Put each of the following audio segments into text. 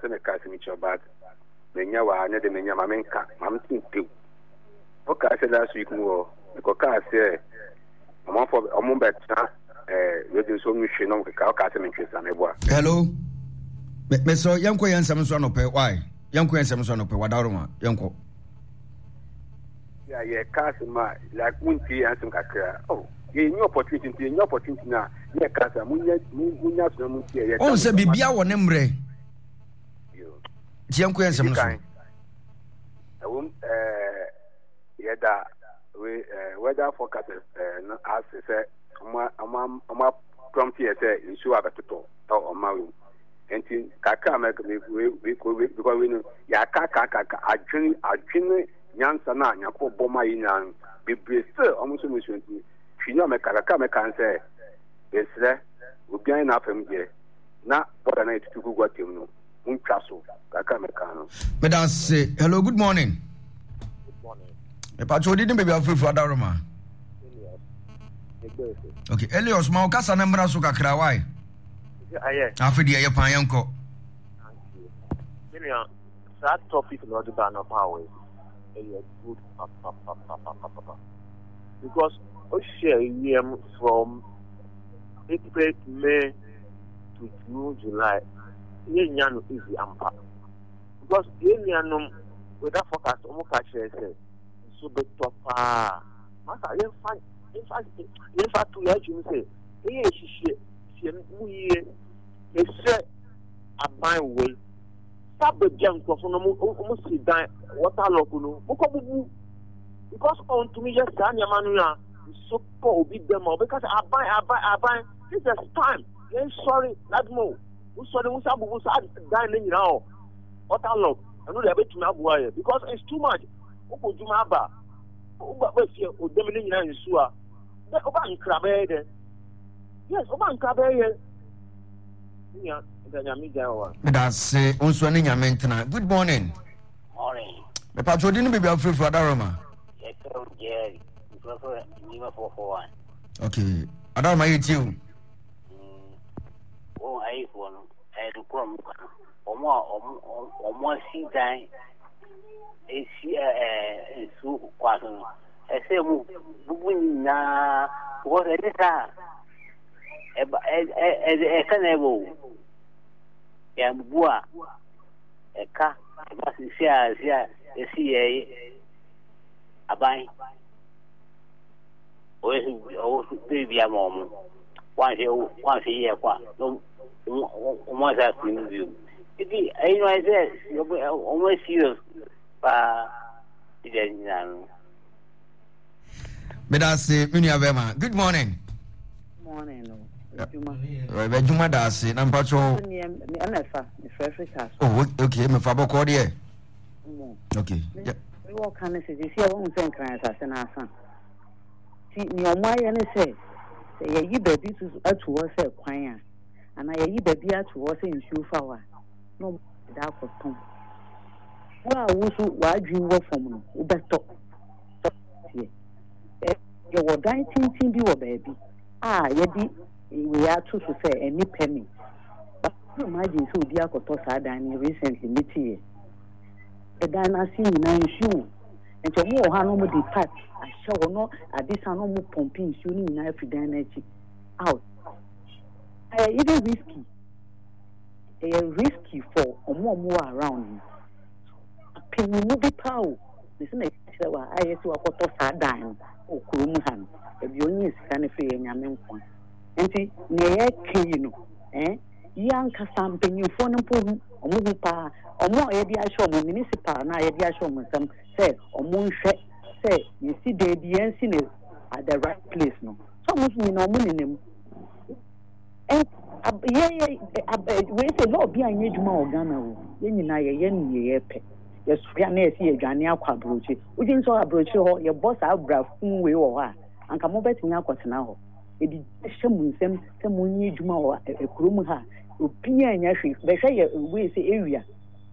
sɛ meka asɛm kyerɛ but manya wɔ ha ne de manya ma menka ma mente ntew. Wokaa sɛ last week mu hɔ mekɔkaa sɛ ɔmanfoɔ ɔmo bɛtena ɛɛ radio so ɔmo hwɛ na ɔmo keka wokaa sɛ mentwe sa meboa. Hello. Mesrɛ yɛnkɔ yɛn nsɛm so anɔpɛ why? Yɛnkɔ yɛn nsɛm so anɔpɛ wadaroma yɛnkɔ. Yeah, yɛka asɛm a like wontie yɛn asɛm kakra. Oh, yɛnya opportunity nti yɛnya opportunity na yɛka asɛm munya munya so na muntie yɛka. Ɔn sɛ biribiara wɔ ne mmerɛ. Nti yɛnkɔ yɛn nsɛm no so. Ɛwom ɛɛ yɛda we ɛɛ weather forecast ɛɛ no ase sɛ ɔmo ɔmo ɔmo prompt yɛ sɛ nsuo abɛtotɔ ɛwɔ ɔman mu. Nti kakra mɛ we we we because we no yɛaka kakaka adwene adwene nyansa no a Nyankopɔn bɔ ma yɛ nyinaa no bebree still ɔmo nso mo nsuo nti hwii no a mɛka kakra mɛka ne sɛ yɛsrɛ obiara ne n'afam deɛ na bɔda no a yɛtutu gugu atam no montwa so kakra mɛka no. Meda ase. Hello, good morning. Good morning. Mepatwa odi ne baabi afurafura adaroma. Elias. Okay, Elias, ma wo kasa no mmra so kakra, why? Afei deɛ ɛyɛ paa yɛnkɔ. Menua, saa topic na ɔde ba anɔpa wɔ yi, ɛyɛ good papapapapapa. Because wohwɛ wiem from April, May to June, July, yɛnnya no easy ampa. Because yɛn nuanom weather forecast wɔn ka kyerɛ sɛ nsuo bɛtɔ paa. Masa yɛmfa yɛmfa yɛmfa to yɛn adwene sɛ ɛyɛ nhyehyɛ hyɛ mu yie. Mesrɛ aban wei sa baabi a nkurɔfo no wɔn si dan water lock no mokɔ bubu because ɔntumi yɛ saa nneɛma no a nsuo kɔ obi dɛm a ɔbɛka sɛ aban aban aban this is time yɛn sɔre ladmo wosɔre wosa bubu saa dan no nyinaa ɔ water lock ɛno deɛ ɛbɛtumi aboa yɛ because it's too much wokɔ dwuma aba woba bɛfie odam no nyinaa nsuo a woba nkra bɛyɛ dɛ yes woba nkra bɛyɛ yɛ nua nka nyame gya wɔ meda ase wo nso ne nyame ntena good morning morning mepatro di no baabi afirafira adaroma yɛfrɛ wo jerry mfrɛfrɛ nnipa 441 okay adaroma yɛtie o wɔn ayifoɔ no ɛyɛ nokorɛ mu ka no wɔn a wɔn asi dan esi ɛɛ nsuo kwan so no ɛsɛ mu bubu nyinaa because ɛne saa ɛba ɛ ɛ ɛka na ɛbɔ o yɛn bubu a ɛka ɛba sisi a si a esi yɛ aban ɔyɛ so ɔwɔ so baabi ama wɔn wanhwɛ wanhwɛ yie kɔ a na wɔn asa afiri mu bio nti ɛyi no ayɛ sɛ wɔn yɛ serious paa ɛdi nyinaa no. meda ase me nua bɛma good morning. Morning no adwuma. Adwuma da ase na mpatsɔ. Ɛmɛfa mefrɛfrɛ kaa so. Oh okay mɛfa bɔkɔɔ deɛ. Okay. Mewɔ ka ne sɛ sisi a wɔn sɛ nkran asase no asa. Nti nea wɔayɛ ne sɛ, sɛ yɛyi baabi ato hɔ sɛ kwan a, anaa yɛyi baabi ato hɔ sɛ nsuo fa hɔ a, na wɔde akɔtɔn. Wo a wo nso w'adwene wɔ fam no, wobɛtɔ. Teɛ. Yɛwɔ dan tenten bi wɔ baabi a yɛde wei ato so sɛ ɛne permit. But imagine sɛ obi akɔtɔ saa dan no recently meteeɛ. Ɛdan no ase nyinaa nsuo wɔ mu. Nti ɔmo wɔ hɔ a na ɔmo de pipe ahyɛ hɔ na ade sa na ɔmo pɔmpe nsuo no nyinaa afiri dan no akyi out. Ɛyɛ even risky. Ɛyɛ risky for ɔmo a ɔmo wɔ around no. Apanyimu bi paa o. Mese na kyerɛ wa ayɛ sɛ wakɔtɔ saa dan no wɔ kurom ha no. Baabi a ɔnyaa sika no firi yɛ Nyame nkoa. Nti nea yɛka yi no eh, yi ankasa mpanyinfoɔ no mpo hu, ɔmo hu paa. Ɔmo a yɛde ahyɛ ɔmo municipal no a yɛde ahyɛ ɔmo nsam sɛ ɔmo nhwɛ sɛ yɛsi dan bi yɛnsi no at the right place no, sɛ ɔmo nso nyinaa ɔmo nenam. Yɛ yɛ wei sɛ law bi anyɛ adwuma wɔ Ghana o, yɛn nyinaa yɛyɛ nea yɛpɛ. Yɛsɔre a na yɛsi yɛdwane akɔ aburokyire. Wodwen sɛ aburokyire hɔ yɛbɔ saa bra fun wei wɔ hɔ a, anka mobɛtumi akɔtena hɔ? Yɛde gya hyɛ mo nsam sɛ monyɛ adwuma wɔ kurom ha a, obiara nyɛ hwee. Bɛhwɛ yɛ wei sɛ area.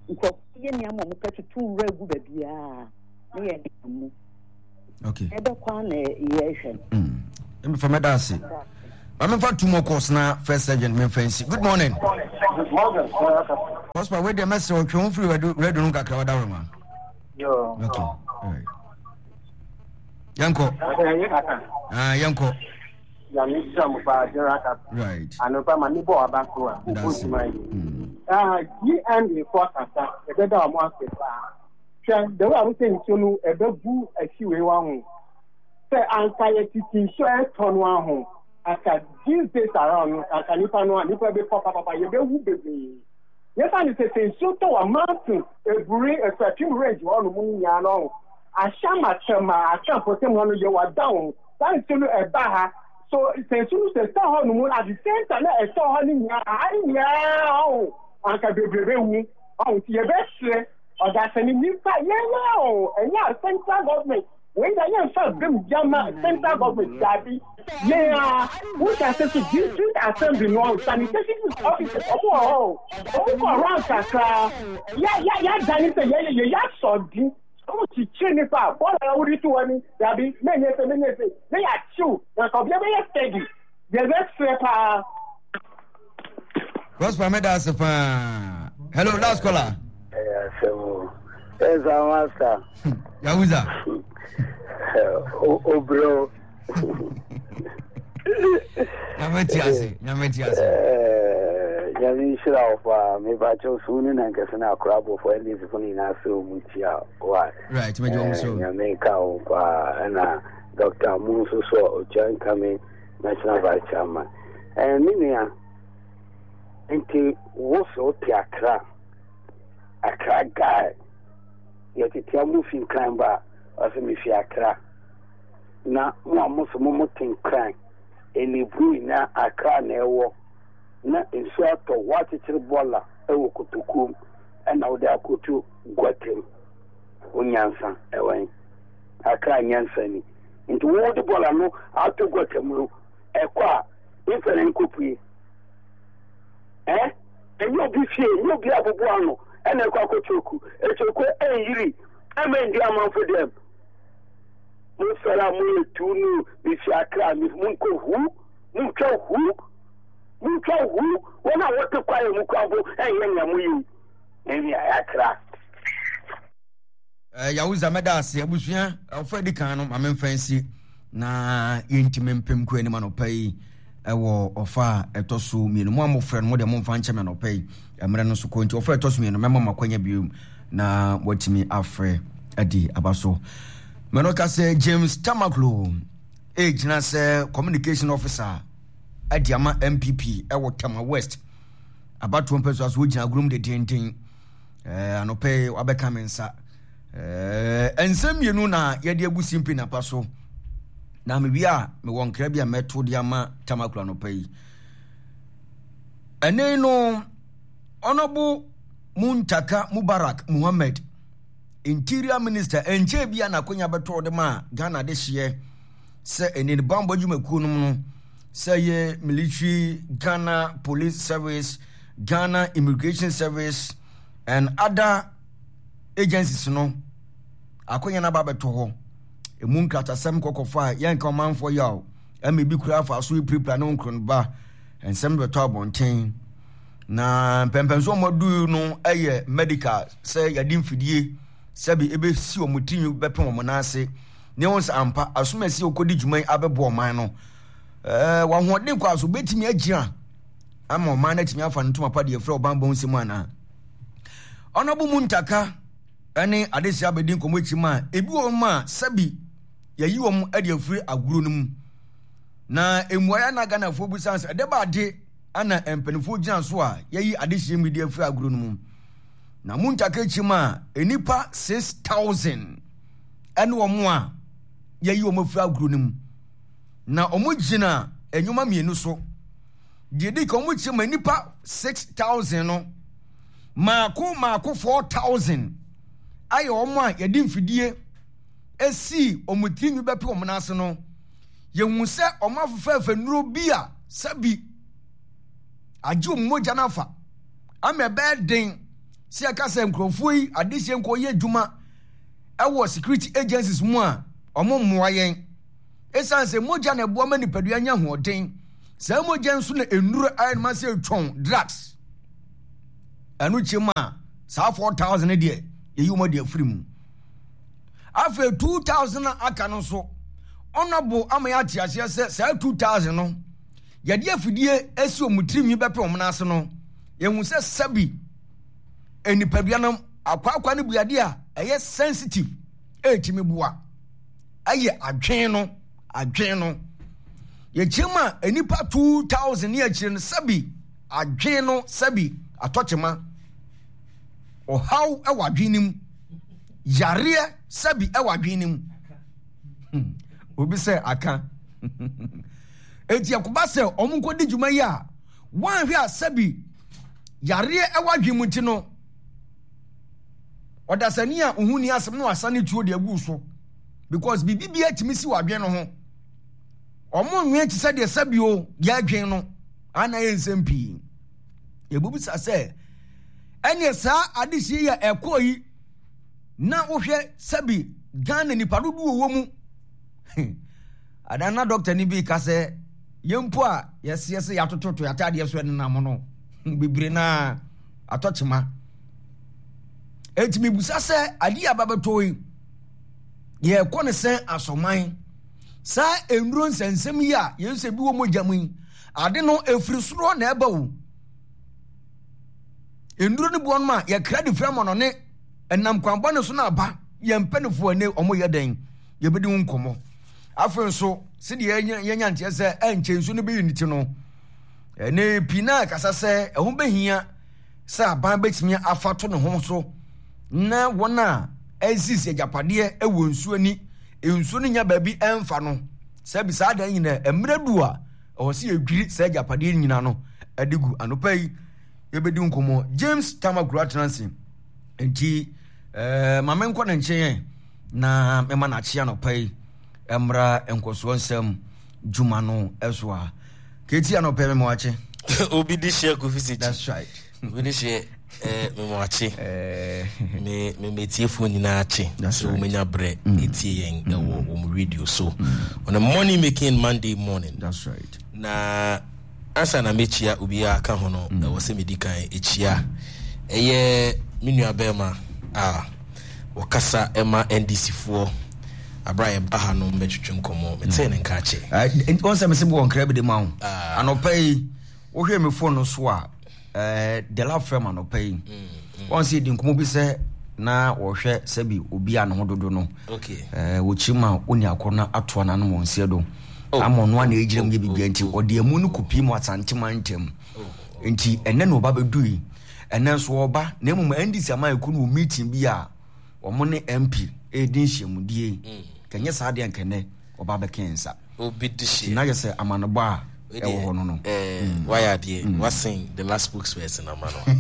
Nkurɔfoɔ yɛ nneɛma a wɔpɛ toto nwura gu baabiara ne yɛ nenam mu. Okay. Ɛbɛkɔ a na yɛhwɛ no. Mmefa mɛda ase. Ma memfa two more calls na first sergeant memfa nsi. Good morning. Morgan, Prosper, wei deɛ mɛsrɛ wo twe ho firi radio no kakra wadaworoma. Yo. Okay. All right. Yɛnkɔ. Ah, yɛnkɔ. Nyame nhyira mo paa General Captain. Right. Anɔpa ma ne bɔ aba so a wobɔ dwuma yi. Ah, GMA fo akasa ɛbɛda wɔn ase paa. Hwɛ the way a wosɛ nsuo no ɛbɛgu akyi wei wa ho. Sɛ anka yɛ titi nsuo ɛtɔ no aho. Anka these days around no anka nipa no a nipa bɛkɔ papapa yɛbɛwu bebree. Yɛfa no sɛ sɛ nsuo tɔ wɔ mountain eburi Akuapem range hɔ nom no nyinaa no ɔho. Ahyɛma Tema Accra mpɔtam hɔ no yɛ wada ho. Saa nsuo no ɛba ha. So sɛ nsuo no sɛ ɛtɔ hɔ nom at the same time na ɛtɔ hɔ no nyinaa ha no nyinaa ɔho anka bebree bɛwu. Ɔho nti yɛbɛsrɛ ɔdasani nipa yɛn yɛn o ɛnyɛ a central government wei na yɛnfa bem yama central government daabi yɛn a wohyɛ ase so district assembly no sanitation officers ɔmo wɔ hɔ o ɔmo kɔ round kakra ya ya yɛadane sɛ yɛyɛ yɛyɛ asɔden ɔmo kyikyiri nipa a bɔɔl a wode to hɔ ni daabi menyɛ sɛ menyɛ sɛ na yɛakyew na nka obiara bɛyɛ steady yɛbɛsrɛ paa. Prosper meda ase paa. Hello, last caller. Ɛyɛ asɛm o. Ɛsa master. Yahuza. Obrɛ o. Nyame ti ase, nyame ti ase. Nyame nhyira wo paa. Mebakyɛw so ne nankɛse no akora abɔfo NDC fo no nyinaa sɛ ɔmu tia wa. Right, mɛgye wɔn so. Nyame nka wo paa. Ɛna Dr. Mu nso so ɔtwa nkame National Vice Chairman. Eh, me nua, nti wo so wote Accra, Accra guy, yɛtetea mo fi Nkran ba a, ɔsɛ mefi Accra. Na mo a mo so mo mo te Nkran, Enebru nyinaa Accra na ɛwɔ, na nsuo atɔ, woakyekyere bɔɔla wɔ kotokuom ɛna wode akɔto guatam. Wo nyansa ɛwɔ he? Accra nyansa ni. Nti wo de bɔɔla no ato gutter mu no, ɛkɔ a, mfa na nkɔpue. Eh? Ɛnyɛ obi fie, ɛnyɛ obi abobo ano ɛna ɛkɔ akɔtwoku. Ɛtwoku ɛnyiri, ɛma ndi amanfo dɛm. Mo sɔre a moyɛ tu no, mefi Accra, monkɔ hu, montwa hu, montwa hu. Wɔn a wɔte kwaeɛ mu kora mpo ɛnyɛ nea moyɛ yi. Ɛnyɛ Accra. Eh, Yahuza mɛda ase abusua ɔfa di kan no ma memfa nsi na yɛntumi mpem kɔ anim anɔpa yi ɛwɔ ɔfa a ɛtɔ so mmienu mo a mofrɛ no mo deɛ momfa nkyɛ me anɔpa yi mmerɛ no so kɔ nti ɔfa ɛtɔ so mmienu mɛma mo akwanya bio na moatumi afrɛ adi aba so mɛno ka sɛ James Tamaklo ɛgyina sɛ communication officer adi ama MPP ɛwɔ Tema West abatoɔ mpɛ so aso wogyina agorom de denden Eh, anɔpɛ yi wabɛka me nsa. Eh, nsɛm mmienu na yɛde agu simpi napa so. Na mewie a mewɔ nkra bi a mɛto de ama tamaklo anɔpɛ yi. Ɛne no, Honorable Muntaka Mubarak Muhammad, Interior Minister, ɛnkyɛɛ bi a n'akonya bɛtɔɔ de ma Ghana de hyeɛ sɛ ɛne ne bammɔ adwumakuo nom no sɛ yɛ military, Ghana Police Service, Ghana Immigration Service and other agencies no akonya no aba abɛtɔ hɔ. Emu nkratasɛm kɔkɔfo a yɛnka ɔmanfoɔ yaw ɛma ebi kura afa so epirapira ne nkronba nsɛm bɛtɔ abɔnten. Na mpɛmpɛnso wɔn adu no yɛ medical sɛ yɛde mfidie sɛbi ebesi wɔn tirinwi bɛpem wɔn nan ase ne wɔn sɛ ampa asomasi a wɔkɔdi dwuma yi abɛboa ɔman no ɛɛ wɔn ahoɔden kɔ aso betumi agyina ama ɔman no atumi afa no ntoma pa deɛ ɛfrɛ ɔbanbɔ nsɛm anaa ɔnɔbo mu ntaka ne adesua abɛdi nkɔmmɔ akyi ma ebi wɔ mu a sɛbi yɛyi wɔn de afiri agorɔ no mu na mmuaeɛ na Ghanafoɔ bisa sɛ ɛdɛ ba ade ana mpanimfoɔ gyina so a yɛyi adesua mu de afiri agorɔ no mu na mu ntaka akyi ma nnipa 6000 ɛne wɔn a yɛyi wɔn afiri agorɔ no mu na wɔn gyina nneɛma mmienu so Deɛ ɛdi kan, wɔkyerɛ ma nnipa 6,000 no, maako maako 4,000 ayɛ wɔn a yɛde mfidie esii wɔn tirinwi bɛpe wɔn nan ase no. Yɛhu sɛ wɔn afefɛɛfɛ nnuro bi a sɛbi agye wɔn mogya no afa ama ɛbɛyɛ den sɛ yɛka sɛ nkurɔfoɔ yi adehyeɛ nkɔ yɛ adwuma ɛwɔ security agencies mu a wɔn mmoa yɛn. Esiane sɛ mogya na ɛboa ma nipadua nya ahoɔden, saa mogya nso na nnuru ayɛ no ma sɛ etwɔn drugs. Ɛno kyɛ mu a, saa 4,000 no deɛ, yɛyi wɔn adi afiri mu. Afei 2,000 a aka no nso, ɔnɔbo ama yɛate aseɛ sɛ saa 2,000 no, yɛde afidie asi wɔn tirinwi bɛpɛ wɔn ase no, yɛhu sɛ sɛbi nipadua no akwaakwa no buade a ɛyɛ sensitive ɛretumi boa ɛyɛ adwene no adwene no yɛkyerɛ mu a nnipa 2000 ne akyire no sɛbi adwene no sɛbi atɔkyema ɔhaw ɛwɔ adwene no mu yareɛ sɛbi ɛwɔ adwene no mu hmm. Obi sɛ aka eti ɛkoba sɛ wɔn nkɔdi dwuma yi a wɔanhwɛ a sɛbi yareɛ ɛwɔ adwene mu nti no ɔdasani a ohun ni asɛm no asa ne tuo de agu so because biribi bi atumi si wɔ adwene no ho wɔn nwen te sɛ deɛ sɛbi o yɛ adwene no ana yɛ nsɛm pii yɛbɛbisa sɛ ɛneɛ saa adehyɛ yi a ɛkɔɔ yi na wohwɛ sɛbi Ghana nipa dodoɔ wɔ mu adan na dɔkta ni bi ka sɛ yɛn mpo a yɛseɛ sɛ yɛatototo yɛataadeɛ so ɛnenam no bebree na atɔ kyema enti mebusa sɛ adeɛ a babɛtɔ yi yɛkɔ ne sɛn asɔman saa nnuro nsɛnsɛm yi a yɛn sɛ bi wɔ mogya mu yi ade no ɛfiri soro na ɛba o nnuro no bi wɔnom a yɛkra de firi amɔnɔne ɛnam kwan bɔne so na aba yɛn mpanimfoɔ ɛne wɔn yɛ dɛn yɛbɛdi ho nkɔmmɔ afei nso sɛdeɛ yɛnya nteɛ sɛ ɛnkyɛ nsuo no bɛyi ne ti no ɛne pii na ɛkasa sɛ ɛho bɛhia sɛ aban bɛtumi afa to ne ho so na wɔn a ɛsisi agyapadeɛ ɛwɔ nsuo ani nsuo no nya baabi ɛmfa no sɛ bi saa dan nyinaa mmerɛ du a ɛwɔ sɛ yɛdwiri saa agyapadeɛ nyinaa no ɛde gu anɔpa yi yɛbɛdi nkɔmmɔ James Tamakuro atena ase nti eh, ma menkɔ ne nkyɛn na mema no akye anɔpa yi mmra nkɔsoɔ nsɛm dwuma no so a kɛti anɔpa yi mema wakye obi de hyɛ kofi sɛ that's right obi de hyɛ eh, mema wakye eh. me me metiefoɔ nyinaa kye so wɔmanya berɛ ɛtie mm. yɛn ɛwɔ mm. wɔn radio so mm. on a money making Monday morning that's right na Ansa na mɛkyia obiara aka ho no, ɛwɔ sɛ medi kan kyia ɛyɛ me nua bɛrima a wɔkasa ɛma NDC foɔ abira yɛ ba ha no mbɛtwetwe nkɔmɔ metee ne nka akyɛ. Wɔn sɛ mese wɔ nkra bi de ma wo ah. anɔpa yi wohwɛ me phone no so a Dela frɛ m anɔpa yi wɔn sɛ yɛdi nkɔmmɔ bi sɛ na wɔhwɛ sɛbi obi a ne ho dodo no wɔkyiri ma ɔni akɔ no atoa no anom wɔn nseɛ do oh. ama ɔno a na ɛgyina mu yɛ biribia nti oh. ɔde amu no kɔpii mu asantema ntam oh. nti ɛnɛ na ɔba bɛdui ɛnɛ nso ɔba na mmom ndc ama ɛkɔ no wɔ meeting bi a wɔn ne mp ɛredi nhyiamudie mm. kɛnyɛ saa deɛ nkɛnɛ ɔba bɛka yɛn nsa. Obi de hyɛ. Na yɛ sɛ amanebɔ a ɛwɔ hɔ no no. Eh, mm. Wayɛ adeɛ, mm. wasen the last spokesperson ama no.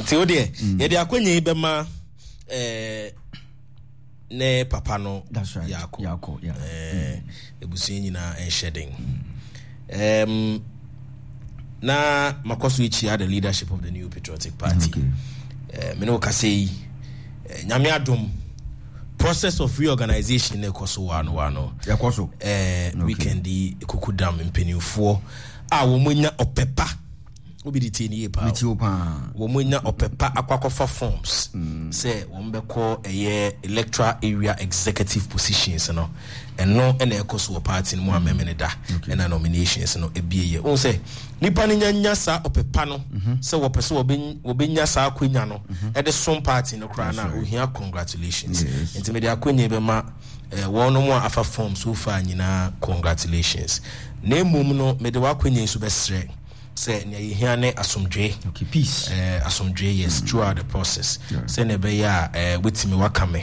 Nti wo deɛ, mm. yɛde akwanya yi bɛma eh, ne papa no That's right. Yaako. Yaako, yeah. Eh, ebusua nyinaa nhyɛ den. Um, na makɔ so akyia the leadership of the New Patriotic Party. Okay. Eh, me ne wo kasa yi, eh, Nyame adom, process of reorganization na ɛkɔ so wano wano. Ɛkɔ so. Eh, okay. Weekend yi, kukudam mpanimfoɔ a wɔn anya ɔpɛ pa obi de tie ne yie paa Metie wo paa. Wɔn anya ɔpɛ pa akɔ akɔfa forms mm. sɛ wɔn bɛkɔ ɛyɛ electoral area executive positions no ɛno ɛna ɛkɔ so wɔ party no mu a mɛmɛ ne da ɛna nominations no ebie yɛ ohun sɛ nipa no nya nya saa ɔpɛ pa no mhm. sɛ wɔpɛ sɛ wɔbɛnya saa akonya no mhm. ɛde som party no koraa na ohia congratulations nti mede akonya bɛma eh, wɔn a afa form so far nyinaa congratulations na mmom no mede w'akonya yi so bɛsrɛ sɛ nea yɛhia ne asomdwoe. Okay, peace. Eh, asomdwoe, yes, mm. throughout the process. Yeah. Sɛnea ɛbɛyɛ a eh, wetumi waka me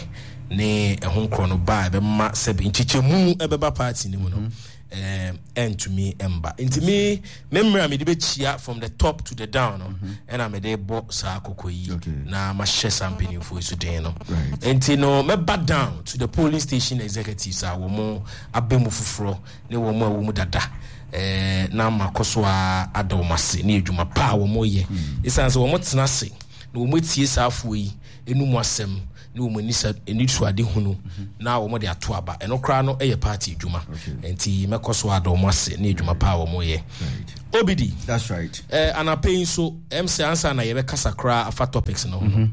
ne ɛho nkorɔ no ba a ɛbɛma sɛ nkyekyɛmu ɛbɛba party no mu no mm-hmm. eh, ɛntumi ɛmba. Nti me me mmerɛ a mede bɛkyia from the top to the down no mm-hmm. ɛna mede bɔ saa kɔkɔ yi na mahyɛ saa mpanimfoɔ yi so den no. Nti no mɛba down to the polling station executives a wɔn aba mu foforɔ ne wɔn a ɛwɔ mu dada eh, na makɔ so ara ada wɔn ase ne adwuma pa a wɔyɛ. Ɛsiane sɛ wɔtena ase na wɔatie saa afoɔ yi enum asɛm ne wɔn anisa anisoadehunu na wɔn de ato aba. Ɛno koraa no yɛ party adwuma. Nti mɛkɔ so ada wɔn ase ne adwuma pa a wɔyɛ. Obidi. That's right. Eh, anapa yi nso, ɛm sɛ ansa na yɛbɛkasa koraa afa topics no ho no.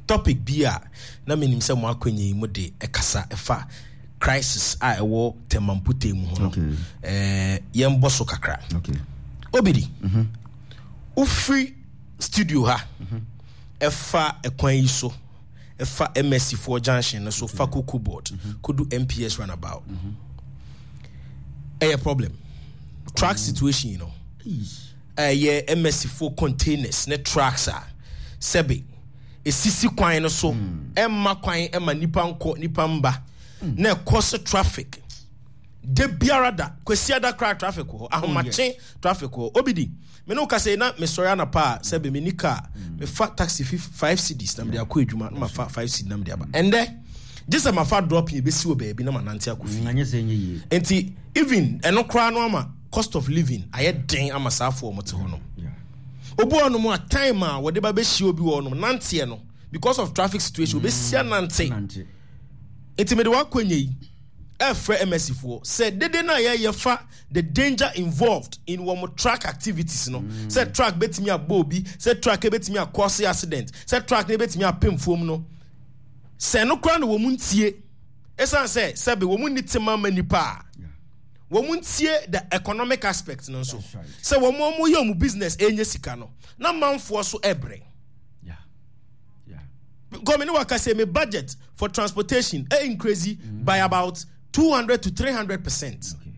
Topic bi a na menim sɛ mo akwanya yi mo de ɛkasa ɛfa crisis a ɛwɔ Tema mpɔtam mu ho no. Okay. Eh, yɛmbɔ so kakra. Okay. Obidi. Wofiri studio ha ɛfa ɛkwan yi so ɛfa MSC foɔ junction no so fa Cocoa Board kodu MPS runabout. Ɛyɛ problem. Truck situation yi no. Ɛyɛ MSC foɔ containers ne trucks a sɛbe esisi kwan no so ɛmma kwan ɛma nipa nkɔ nipa mba na ɛkɔ so traffic. Da biara da, Kwasiada koraa traffic wɔ hɔ, ahomakye traffic wɔ hɔ. Obidi, me ne wo kasa yi na mesɔre anapa a sɛbe menni car, mefa taxi fi 5 cedis na mede akɔ adwuma na mafa 5 cedi na mede aba. Ɛndɛ, gye sɛ mafa dropping ebesi wɔ baabi na manante akɔ fie. Anyɛ sɛ ɛnyɛ yie. Nti even ɛno koraa no ama cost of living ayɛ den ama saa afoɔ a wɔte hɔ nom. Obi wɔ hɔnom a time a wɔde ba bɛhyia obi wɔ hɔnom nanteɛ no because of traffic situation obesia nante. Nti mede w'akwanya yi ɛrefrɛ MSC foɔ sɛ dede no a yɛyɛ fa the danger involved in wɔn truck activities no mm. sɛ truck bɛtumi abɔ obi sɛ truck bɛtumi akɔse accident sɛ truck no bɛtumi apem fam no sɛ no koraa na wɔn ntie ɛsiane sɛ sɛbe wɔn nni tema ma nipa a wɔn ntie the economic aspect no nso sɛ wɔn wɔn yɛ wɔn business ɛnyɛ sika no na manfoɔ so ɛbrɛ. Because me ne waka sɛ me budget for transportation ɛ increase mm. by about 200 to 300%. Okay.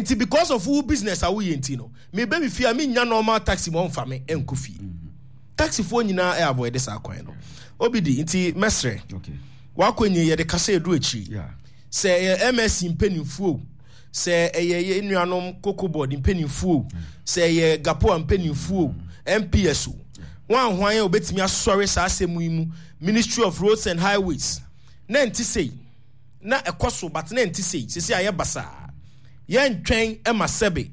Nti because of wo business a woyɛ nti no, me bɛ me fie a me nya normal taxi ma ɔmfa me ɛnkɔ fie. Mm-hmm. Taxi foɔ nyinaa ɛ avoid saa kwan no. Obi di nti mɛsrɛ. Okay. Wakɔ nyi yɛde kasa edu akyiri. Yeah. Sɛ ɛyɛ MSc mpanimfoɔ o, sɛ ɛyɛ yɛn nuanom Cocoa Board mpanimfoɔ o, sɛ ɛyɛ Gapoa mpanimfoɔ o, MPS o, hwan hwan a obetumi asɔre saa asɛm yi mu, Ministry of Roads and Highways, na ɛnte sei, na ɛkɔ so but na ɛnte sei, sisi ayɛ basaa. Yɛntwɛn ma sɛbe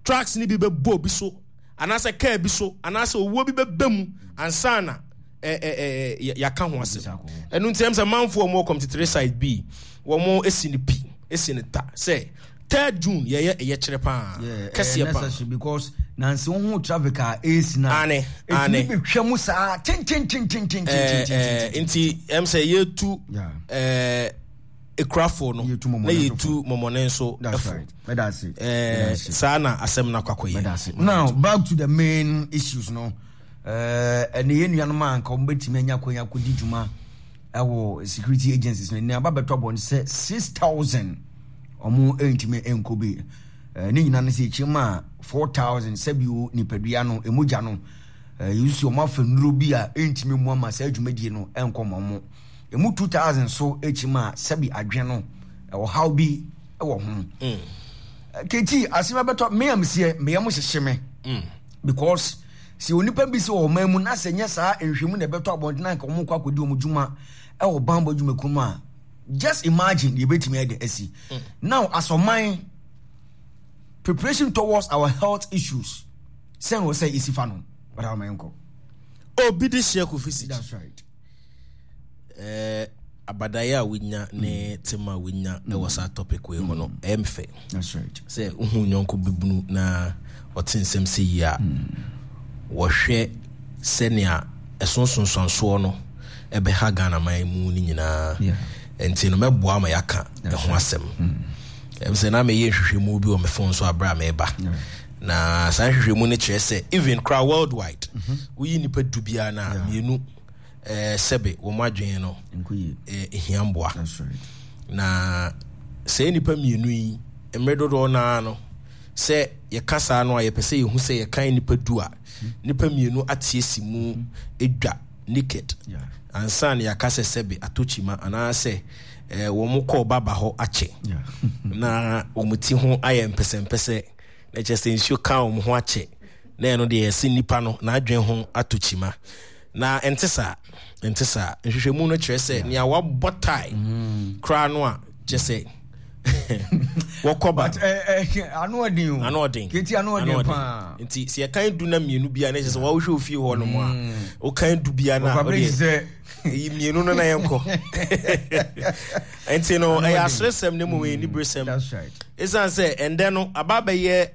trucks no bi bɛbɔ obi so anaasɛ kaa bi so anaasɛ owuo bi bɛba mu ansa na yɛaka ho asɛm. Ɛno nti ɛm sɛ manfoɔ a wɔwɔ Committee 3 side bi wɔn esi no pi esi no ta sɛ 3rd June yɛyɛ ɛyɛ kyerɛ paa kɛseɛ paa. Necessary because nansi wo ho traffic a esi na ane ane etumi betwa mu saa tententententententen. Nti ɛm sɛ yɛtu ɛɛ ekurafoɔ no na yɛtu mɔmɔne nso ɛfo. Ɛɛ saa na asɛm no akɔ akɔyɛ. Now back to the main issues no. Ɛne yɛn nuanom a nka wɔbɛtumi anya kwan akɔdi dwuma ɛwɔ security agencies no nea aba bɛtɔ abɔ no sɛ 6000 wɔn ntumi nkɔ bi. Ne nyinaa no sɛ ɛkyerɛ mu a 4000 sɛbio nipadua no ɛmogya no yɛsusu wɔn afa nnuro bi a ɛntumi mu ama saa dwumadie no ɛnkɔ ma wɔn. Ɛmu 2000 so ɛkyerɛ mu a sɛbi adwene no ɔhaw bi wɔ ho. Keti asɛm abɛtɔ me a meseɛ meyɛ mo hyehye me because Sɛ onipa bi si wɔ ɔman mu na sɛ nyɛ saa nhwɛmu na ɛbɛtɔ abɔnten anka wɔn kɔ akɔdi wɔn dwuma wɔ banbɔ dwumakuo mu a, just imagine deɛ ebɛtumi ayɛ de asi. Mm. Now as ɔman, preparation towards our health issues sɛn wɔ sɛ esi fa no, but our man nkɔ. Obi de hyɛ kofi si. That's right. Eh, abadaeɛ a wonya ne mm. tema a wonya mm. wɔ saa topic wei ho no mm. ɛyɛ me fɛ sɛ wohu nyɔnko bibunu na ɔte nsɛm sɛ yi a wɔhwɛ sɛnea ɛso nsonsansoɔ no ɛbɛha Ghana man mu no nyinaa nti no mɛboa ma yɛaka ɛho asɛm ɛm sɛ na meyɛ nhwehwɛmu bi wɔ me phone so aberɛ a meba na saa nhwehwɛmu no kyerɛ sɛ even koraa worldwide mm-hmm. woyi nnipa du biara no a mmienu eh, sɛbe wɔn adwene no eh, hia mboa. Na sɛ nnipa mmienu yi, mmerɛ dodoɔ no ara no, sɛ yɛka saa no a yɛpɛ sɛ yɛhu sɛ yɛkan nnipa du a, nnipa mmienu ate asi mu dwa naked ansa na yɛaka sɛ sɛbe atɔ kyima anaasɛ eh, wɔn kɔɔ baba hɔ akyɛ na wɔn ti ho ayɛ mpɛsɛmpɛsɛ na kyerɛ sɛ nsuo ka wɔn ho akyɛ na ɛno deɛ yɛse nnipa no n'adwene ho atɔ kyima. Na ɛnte saa. Ɛnte saa. Nhwehwɛmu no kyerɛ sɛ nea wabɔ tae mm. koraa no a kyerɛ sɛ Wɔkɔ ba. But eh, eh, ano ɔden o. Ano ɔden. Keti ano ɔden paa. Nti sɛ yɛkan du na mmienu bia na kyerɛ sɛ wɔwohwɛ ofie hɔ nom a mm. wokan du bia na ɔdeɛ ɛyi mmienu no na yɛnkɔ. Nti no ɛyɛ aseresɛm na mmom ɛyɛ mm, niberesɛm. Ɛsiane sɛ ɛndɛ no aba bɛyɛ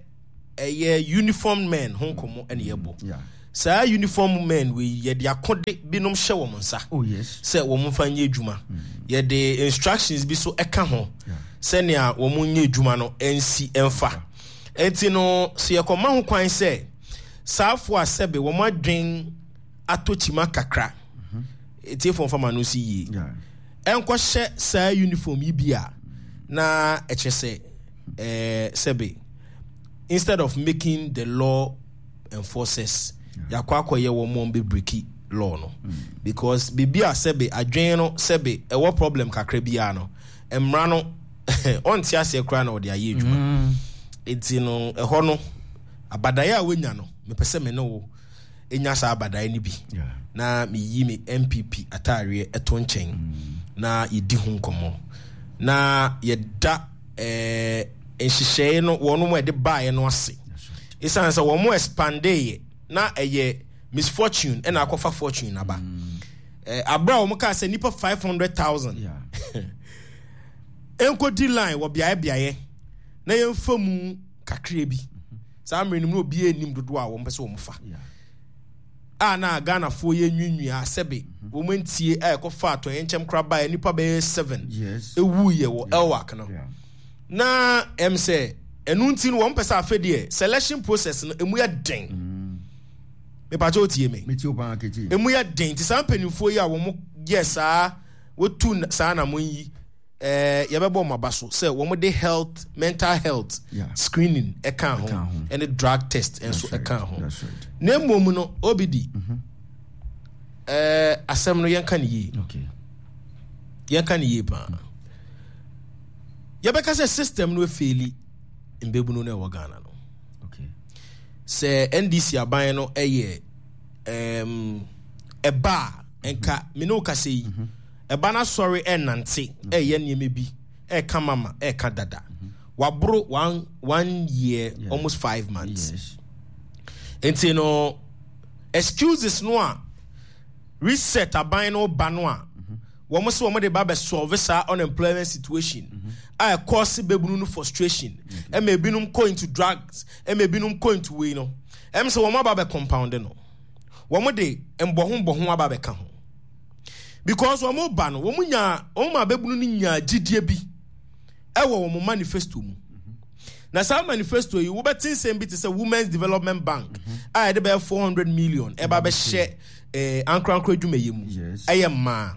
ɛyɛ uniform men ho nkɔmmɔ ɛne yɛbɔ. Yeah. Saa uniform men wei yɛde akode binom hyɛ wɔn nsa oh, sɛ wɔn mfa nyɛ adwuma. Mm. Yɛde instructions bi so ɛka ho sɛnea wɔn nyɛ adwuma no nsi mfa. Enti no sɛ yɛkɔma ho kwan sɛ saafo a sɛbe wɔn adwen atɔ kyima kakra mhm. etiefo mfa ma no si yie ɛnkɔhyɛ saa uniform yi bi a na ɛkyerɛ sɛ ɛɛ sɛbe instead of making the law enforcers yɛakɔ akɔyɛ wɔn wɔn bɛ breaki law no mm. because biribi a sɛbe adwene no sɛbe ɛwɔ problem kakra biara no mmara no ɔnte aseɛ koraa na ɔde ayɛ adwuma mm. nti no ɛhɔ no abadaeɛ a wonya no mepɛ sɛ me ne wo nya saa abadaeɛ no bi na meyi me npp ataareɛ ɛto nkyɛn mm. na yɛdi ho nkɔmmɔ na yɛda eh, nhyehyɛe no wɔn a ɛde baeɛ no ase ɛsiane sɛ wɔn expandeeɛ na ɛyɛ misfortune ɛna akɔfa fortune aba mm. eh, abere a wɔn kaa sɛ nipa 500,000 nkɔdi line wɔ beaeɛ beaeɛ na yɛmfa mu kakra bi saa mmerɛ no mu na obiara nnim dodoɔ a wɔn pɛ sɛ wɔn fa a na Ghanafoɔ yɛ nwiinwii a sɛbe mhm. wɔn ntie a ɛkɔfa atɔyɛnkyɛm koraa baeɛ nipa bɛyɛ seven ewuiɛ wɔ Elwak no na ɛm sɛ ɛno nti no wɔn pɛ sɛ afɛ deɛ selection process no emu yɛ den mm. mepakyɛ otie me emu yɛ den ti saa mpanimfoɔ yi a wɔn yɛ saa wɔtu saa na wɔn yi. Eh, yɛbɛbɔ wɔn aba so sɛ wɔn de health mental health yeah. screening ɛka ho ɛne drug test nso ɛka ho na mmom no obidi mm -hmm. eh, asɛm no yɛnka ne yie okay. yɛnka ne yie paa yɛbɛka sɛ system no efeeli mbɛbunu no ɛwɔ Ghana no okay. sɛ NDC aban no ɛyɛ ɛba a nka me ne wo kasa yi mm -hmm. Ɛba no asɔre ɛnante ɛyɛ nneɛma bi ɛka mama ɛka dada waboro one one year yeah. almost five months yes. nti no excuses no a reset aban no ba no a wɔn sɛ wɔn de ba bɛ solve saa unemployment situation mm -hmm. a ɛkɔɔse bɛbunu no frustration ɛma ebinom kɔ into drugs ɛma ebinom kɔ into wei no ɛm sɛ wɔn aba bɛ compound no wɔn de mbɔho mbɔho aba bɛka ho. Because wɔn ba no, wɔn nyaa, wɔn ma abɛbunu no nyaa gyidie bi ɛwɔ wɔn manifesto mu. Na saa manifesto yi, wobɛte nsɛm bi te sɛ Women's Development Bank a yɛde bɛyɛ 400 million ɛba bɛhyɛ eh, ankorankoro adwumayɛ mu ɛyɛ mmaa.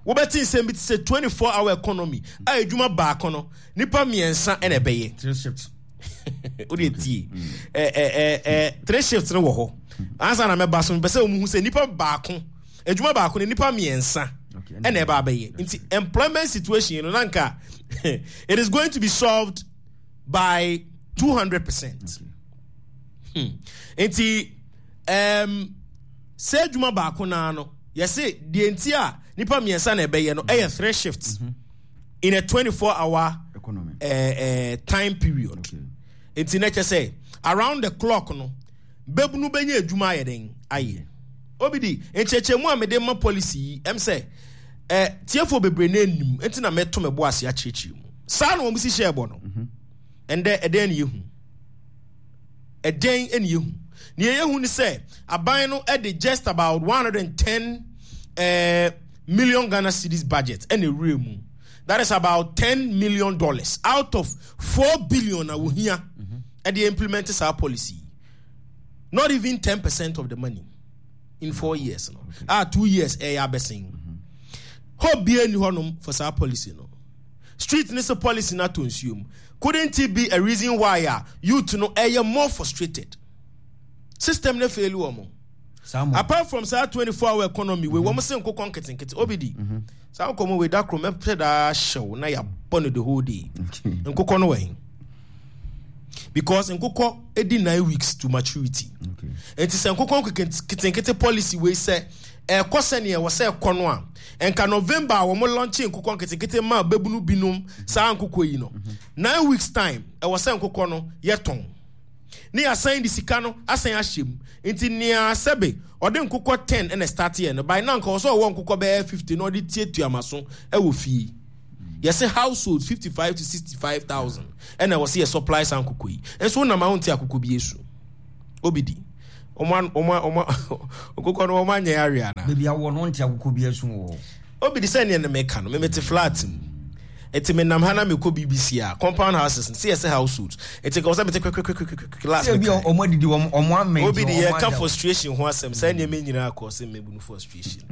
Wobɛte nsɛm bi te sɛ 24 hour economy a adwuma baako no nipa mmiɛnsa ɛna ɛbɛyɛ. Three shifts. Wode tie. Eh, eh, eh, three shifts no wɔ hɔ. Ansa na mɛba so mepɛ sɛ wɔn hu sɛ nipa baako adwuma baako no nipa mmiɛnsa ɛna ɛba abɛyɛ nti employment situation no nanka it is going to be solved by 200 percent hmm. nti um, sɛ adwuma baako naa no yɛse deɛ nti a nipa mmiɛnsa na ɛbɛyɛ no ɛyɛ three shifts mm -hmm. in a 24 hour economy uh, uh, time period nti na kyɛ sɛ around the clock no bɛbunu bɛnya adwuma ayɛ den ayɛ Obi di, nkyerɛkyerɛmu a mede ma policy yi, ɛm sɛ, eh, tiefoɔ bebree na anim, nti na mɛto me bo ase akyerɛkyerɛ mu. Saa na wɔn si hyɛɛ bɔ no. Mhm. Ɛndɛ, ɛdɛn ne yɛhu? Ɛdɛn ne yɛhu? Nea yɛhu ne sɛ, aban no de just about 110 eh, million Ghana cedis budget ɛna ɛwura mu. That is about 10 million dollars out of 4 billion a wɔhia mhm. ɛde implement saa policy yi. Not even 10 percent of the money in four years no. Okay. Ah, 2 years ɛyɛ abɛsen. Hope bi ani hɔnom for saa policy no. Street ne sɛ policy no atɔ nsuo mu. Couldn't it be a reason why a youth no ɛyɛ more frustrated? System no fail wɔn. Apart from saa 24 hour economy wei wɔn se nkokɔ nketenkete obidi. Mm -hmm. Saa nkɔmɔ wei da koro mɛpɛ daa hyɛw na yɛabɔ no the whole day. Nkokɔ no wɔ he? Because nkokɔ edi 9 weeks to maturity. Nti sɛ nkokɔ nketenkete policy wei sɛ ɛkɔ sɛnea ɛwɔ sɛ ɛkɔ no a Nka November a wɔn launche nkokɔ nketenkete maa babunu binom saa nkokɔ yi no, 9 weeks time ɛwɔ sɛ nkokɔ no yɛtɔn. Ne yɛasan de sika no asan ahyɛ mu. Nti nea sɛbe ɔde nkokɔ 10 ɛna start yɛ no, by now nka ɔsɛ ɔwɔ nkokɔ bɛyɛ 50 na ɔde tuatua maso ɛwɔ fie. Yɛsɛ household 55 to 65,000 ɛna ɛwɔ sɛ yɛ supply saa nkokɔ yi. Nso wonam a wonte akokɔ bi esu. Obi di. Ɔmo ɔmo ɔmo nkokɔ no ɔmo anyɛ awe ana. Baabi awɔ no wonte akokɔ bi esu wɔ hɔ. Obi di sɛ nea ne meka no, me mete flat mu. Nti menam ha na mekɔ BBC a, compound houses no, sɛ yɛsɛ households. Nti nka wɔ sɛ mete kwekwekwekwe last Sɛ bi mekae. ɔmo adidi wɔn ɔmo amɛn Obi nti de ɔmo yɛka ada. frustration ho asɛm, saa nneɛma nyinaa kɔ sɛ mmabunu frustration.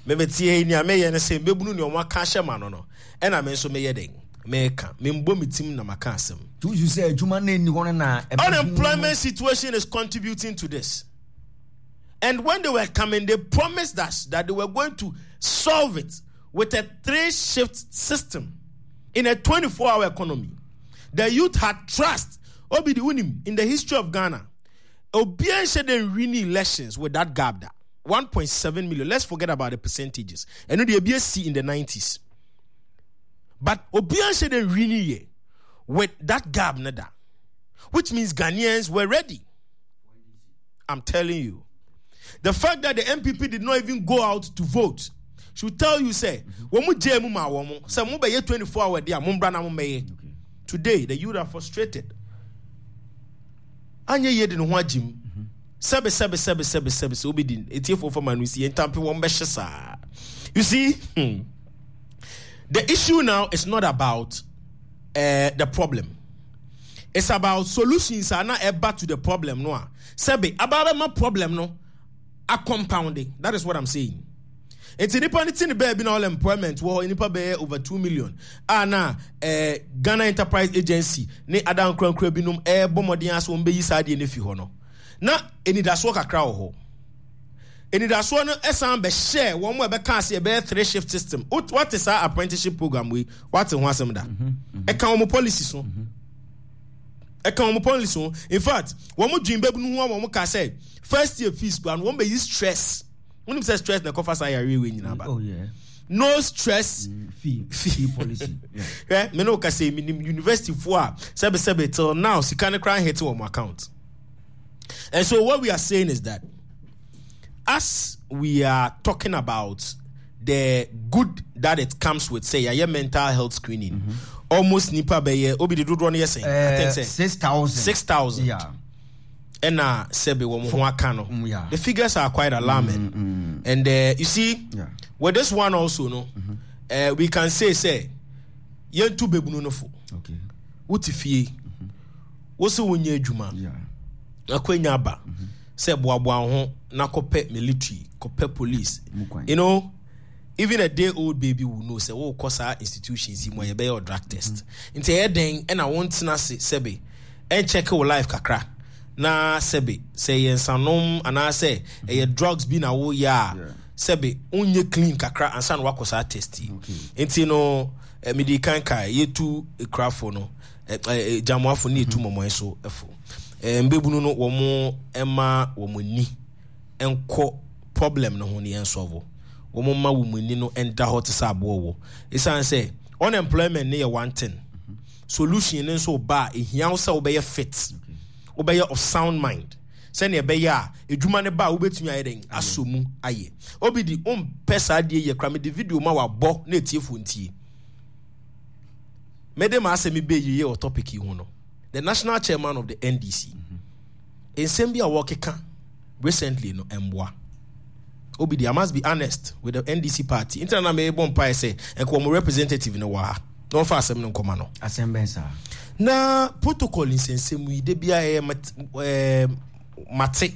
Memeteɛ yi nea meyɛ ne sɛ mmabunu nea ɔmo aka ahyɛ ma no no, ɛna me nso meyɛ dɛn? Meka. Membɔ me tim na maka asɛm. Tuusu sɛ adwuma no nni hɔ no na ɛbɛbu Unemployment situation is contributing to this. And when they were coming, they promised us that they were going to solve it with a three shift system in a 24 hour economy. The youth had trust. Obidi Unim, in the history of Ghana, Obiara didn't win elections with that gap. That 1.7 million. Let's forget about the percentages. And the ABSC in the 90s. But Obiara didn't win with that gap, nada. Which means Ghanaians were ready. I'm telling you. The fact that the NPP did not even go out to vote should tell you, say, wɔn mu gye mu ma wɔn sɛ mo bɛyɛ 24 hour day a mo mbra na mo mbɛyɛ. Today, the youth are frustrated. Anyɛ yie de ne ho agye mu. Sɛbe sɛbe sɛbe sɛbe sɛbe sɛ obi di etiefo fam ano si yɛn ntampe wɔn bɛhyɛ saa. You see, the issue now is not about the problem. It's about solutions are not ɛba to the problem no a. Sɛbe aba bɛma problem no a compounding. That is what I'm saying. Nti nipa ne ti ne baabi na unemployment wɔ hɔ nipa bɛyɛ over 2 million a na Ghana Enterprise Agency ne ada nkorankora binom ɛɛbɔ mmɔden ase wɔn bɛyi saa adeɛ no fi hɔ no, na enidasoɔ kakra wɔ hɔ. Enidasoɔ no ɛsan bɛhyɛ wɔn a ɛbɛka ase ɛbɛyɛ three shift system. Wate saa apprenticeship program wei, wate ho asɛm da? Ɛka wɔn policy so, ɛka wɔn policy ho. In fact, wɔn dwen bɛbu no ho a wɔn ka sɛ first year fees kura no wɔn bɛyi stress. Wɔn nim sɛ stress na ɛkɔfa saa yareɛ wei nyinaa ba. Oh yeah. No stress fee policy. Hwɛ, me ne wo kasa yi, menim university foɔ a sɛbesɛbe till now sika no koraa nhete wɔn account. And so what we are saying is that as we are talking about the good that it comes with, say yɛayɛ mental health screening, almost nipa bɛyɛ obi de dodoɔ no yɛ sɛn? I think sɛ 6,000. 6,000. Ɛna sɛbe wɔn ho aka no. The figures are quite alarming. And you see, with this one also no, we can say yɛntu bebunu no fo. Wote fie, wo sɛ wonyɛ adwuma, akwanya aba sɛ boaboa wo ho na kɔpɛ military, kɔpɛ police. Mu kwan. Even a day old baby will know sɛ wokɔ saa institutions yi mu a yɛbɛyɛ wo drug test. Nti ɛyɛ den ɛna wontena ase sɛbe ɛnkyɛke wo life kakra na sɛbe sɛ ɛyɛ nsanom anaasɛ ɛyɛ drugs bi na woyɛ a, sɛbe wonyɛ clean kakra ansa na wakɔ saa test yi. Nti no mede kan kae yɛtu ekurafo no, gyamoafo ne yɛtu mɔmɔe so ɛfo. Mbɛbunu no wɔn ɛma wɔn ani nkɔ problem no ho ne yɛn solve. Wɔn ma wɔn ani no nda hɔ te sɛ aboɔ wɔ. Ɛsiane sɛ unemployment ne yɛ one thing. Solution no nso ba a ehia wo sɛ wobɛyɛ fit, wobɛyɛ of sound mind. Sɛnea ɛbɛyɛ a edwuma no ba a wobɛtumi ayɛ dɛn asɔ mu ayɛ. Obi di wompɛ saa adeɛ yɛ kora, mede video ma wabɔ na etiefoɔ ntie. Mede ma asɛm bɛ yie wɔ topic yi ho no. The national chairman of the NDC, nsɛm bi a wɔkeka recently no mboa. Obi di, I must be honest with the NDC party. Nti na na mebɔ mpae sɛ nka wɔn representative no wɔ ha na wɔmfa asɛm no nkɔma no. Asɛm bɛn saa? Na protocol nsɛnsɛm yi de bia ɛyɛ mate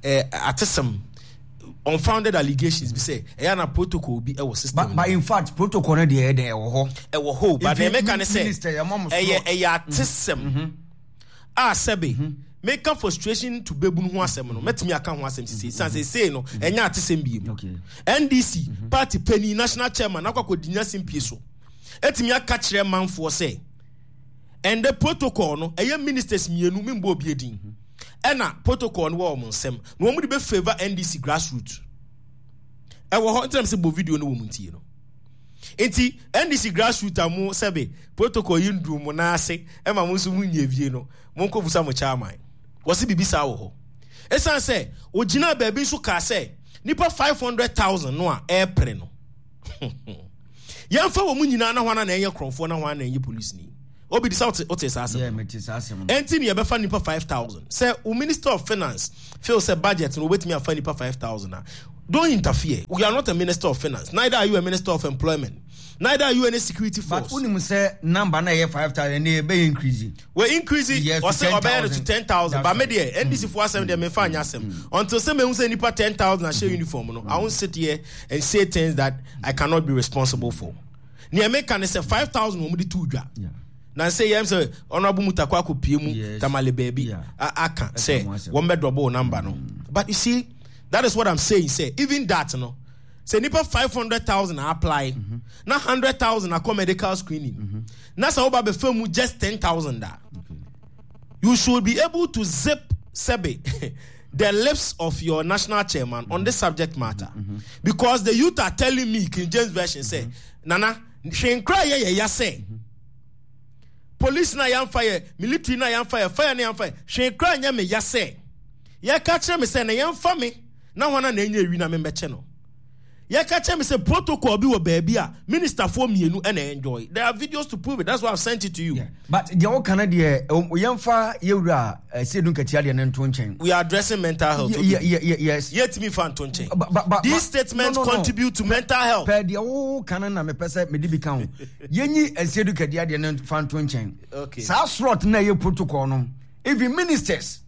atesɛm unfounded allegations bi sɛ ɛyɛ na protocol bi ɛwɔ system. But in fact protocol no deɛ ɛyɛ dɛn ɛwɔ hɔ. Ɛwɔ hɔ, but deɛ meka ne sɛ Minister, yɛ ma mo ɛyɛ slot. ɛyɛ atesɛm a sɛbe meka frustration to bebunu ho asɛm no, mɛtumi aka ho asɛm sisi san sɛ sei no ɛnyɛ atesɛm biem. NDC party panyin, national chairman, akɔ akɔdi nya simpie so ɛtumi aka kyerɛ manfoɔ sɛ ɛndɛ protocol no ɛyɛ ministers mmienu, membɔ obi edin, ɛna protocol no wɔ wɔn nsɛm na wɔn de bɛ favour NDC grassroots. Ɛwɔ hɔ ntina sɛ bɔ video no wɔ mu ntie no. Nti NDC grassroots a mo sɛbe protocol yi nduru mo nan ase ɛma mo nso mo nyɛ vie no, monkɔ busa mo chairman. Wɔse biribi saa wɔ hɔ. Ɛsiane sɛ ogyinaa baabi nso kaa sɛ nipa 500,000 no a ɛrepere no. Yɛmfa wɔn nyinaa na hwan na ɛnyɛ korɔmfoɔ na hwan na ɛnyɛ polisini. Obi de sɛ wote wote saa asɛm. Yeah, mete saa asɛm no. Ɛnti ne yɛbɛfa nipa 5,000. Sɛ wo minister of finance feel sɛ budget no wobɛtumi afa nipa 5,000 a, don't interfere. You are not a minister of finance, neither are you a minister of employment, neither are you any security force. But wonim sɛ number na ɛyɛ 5,000 ne ɛbɛyɛ increase. Wɔ increase, Yes, to ɔsɛ ɔbɛyɛ no to 10,000. 10,000. But That's me right. deɛ, NDC foɔ asɛm deɛ memfa nyɛ asɛm. Until sɛ mehu sɛ nipa 10,000 ahyɛ uniform no, I won't sit here and say things that I cannot be responsible for. Nea meka ne sɛ 5,000 wɔn de too dwa. Na sɛ yɛm sɛ Honorable Mutakwa akɔpie mu Yes. Tamale baabi Yeah. aka sɛ ho asɛm. wɔn bɛ double number no. But you see, that is what I'm saying sɛ even that no, sɛ nipa 500,000 apply na 100,000 akɔ medical screening na sɛ woba bɛfa mu just 10,000 a, you should be able to zip sɛbe the lips of your national chairman on this subject matter. Because the youth are telling me, King James Version say, Nana, hwee nkra yɛ yɛ ya sɛ police na yɛmfa yɛ military na yɛmfa yɛ fire na yɛmfa yɛ hwee kra nyɛ me ya sɛ yɛka kyerɛ me sɛ na yɛmfa me na hwan na ɛnyɛ ewi na membɛkyɛ no. Yɛka kyerɛ me sɛ protocol bi wɔ baabi a ministerfoɔ mmienu ɛna enjoy. There are videos to prove it. That's why I've sent it to you. Yeah. But deɛ woka no deɛ yɛmfa yɛwura Seidu Nketia deɛ no nto nkyɛn. We are addressing mental health. Yeah, yeah, yeah, yes. Yɛtumi fa nto nkyɛn. But, These statements no. contribute to mental health. Pɛ deɛ woka no na mepɛ sɛ mede bi ka ho. Yɛnyi Seidu Nketia deɛ no fa nto nkyɛn. Okay. Saa slot na ɛyɛ protocol no, even ministers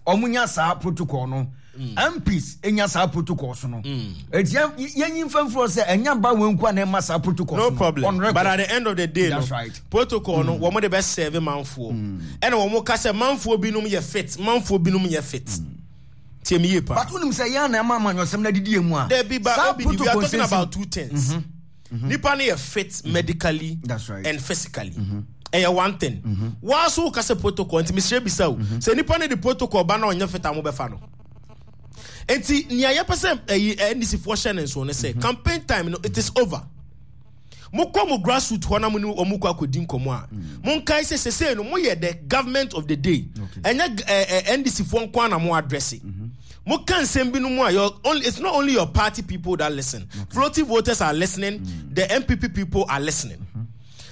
ɔmo nya saa protocol no. MPs nya saa protocol so no. Eti yɛnyi mfa mfiri hɔ sɛ ɛnya ba wɔn nko a na ɛma saa protocol No so no. problem. On record. But at the end of the day, That's no, right. protocol no, wɔn de bɛ serve manfoɔ. Ɛna wɔn ka sɛ manfoɔ binom yɛ fit, manfoɔ binom yɛ fit. Tie mi yie pa. But wonim sɛ yɛn na ɛma amanyɔsɛm no adidi yɛn mu a. Debi ba Saa Obi, we are protocol talking nsɛnsɛm- about two things. Nipa no yɛ fit medically That's right. and physically. Ɛyɛ one thing. Waa so woka sɛ protocol nti mesrɛ bisa o. Sɛ nipa no de protocol ba na ɔnyɛ fit a mobɛfa no. Nti nea yɛpɛ sɛ ɛyi NDC foɔ hyɛ ne nso ne sɛ campaign time no it is over. Mokɔ mo grassroots hɔ na mo ne wɔn kɔ akɔdi nkɔmmɔ a, monkae sɛ sesei no moyɛ the government of the day. Ɛnyɛ NDC foɔ nko ara na mo address. Moka nsɛm bi no mu a, it's not only your party people that listen. Floating voters are listening, the NPP people are listening.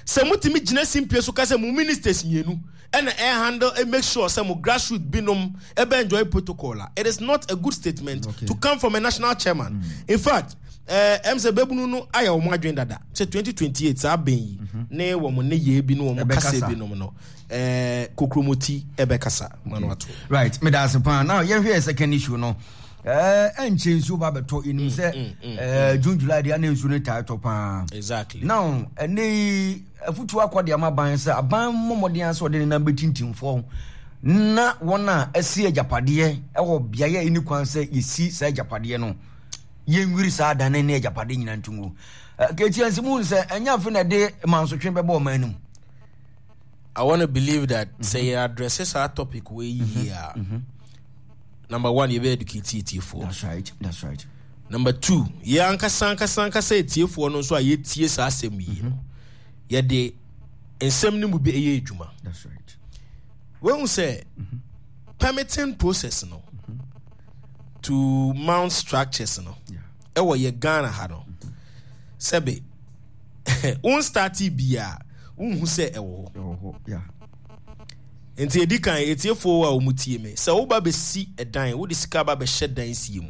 Sɛ motumi gyina simpie so ka sɛ mo ministers mmienu ɛna ɛhandle ɛ make sure sɛ mo grassroots binom ɛbɛ enjoy protocol a, it is not a good statement to come from a national chairman. In fact, ɛm sɛ bɛbunu no ayɛ wɔn adwene dada sɛ 2028 saa bɛn yi ne wɔn nneyɛɛ bi ne wɔn kasa binom no, kokromoti ɛbɛkasa ma no ato. Right, meda ase paa. Now yɛhwɛ yɛ second issue no. Ɛnkyɛ nsuo ba bɛtɔ yɛnim sɛ June July deɛ na nsuo no taa tɔ paa. Exactly. Now ɛnɛ yi afutuo akɔ de ama aban sɛ aban mmɔ mmɔden sɛ ɔde ne nan bɛtintim fam na wɔn a asi agyapadeɛ wɔ beaeɛ a ɛni kwan sɛ yɛsi saa agyapadeɛ no yɛnwiri saa adan no ne agyapadeɛ nyinaa nto ngu. Kɛtia nsi mu sɛ ɛnyɛ afe na ɛde mansotwe bɛbɔ ɔman no mu. I want to believe that sɛ yɛ address saa topic wei yie a, number one, yɛbɛ educate etiefoɔ. That's right, that's right. Number two, yɛ ankasa ankasa ankasa etiefoɔ no nso a yɛtie saa asɛm yi no, yɛde nsɛm no mu bi ɛyɛ adwuma. That's right. Wehu sɛ permitting process no to mount structures no ɛwɔ yɛ Ghana ha no, sɛbe won starte bia wonhu sɛ ɛwɔ hɔ. Nti edi kan, etiefoɔ a wɔn tie me, sɛ woba bɛsi ɛdan, wode sika ba bɛhyɛ dan sie mu,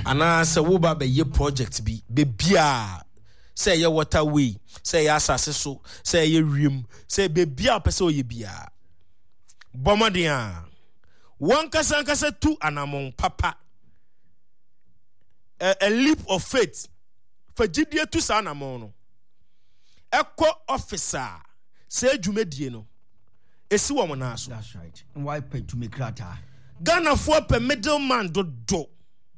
anaa sɛ woba bɛyɛ project bi, bebiaa, sɛ ɛyɛ waterway, sɛ ɛyɛ asase so, sɛ ɛyɛ wiem, sɛ bebiaa wopɛ sɛ ɔyɛ biaa, bɔ mmɔden a wankasa ankasa tu anammɔn papa, a leap of faith, fa gyidie tu saa anammɔn no, ɛkɔ office a saa dwumadie no ɛsi wɔn nan so. That's right. Why pɛ tumi krataa? Ghanafoɔ pɛ middleman dodo.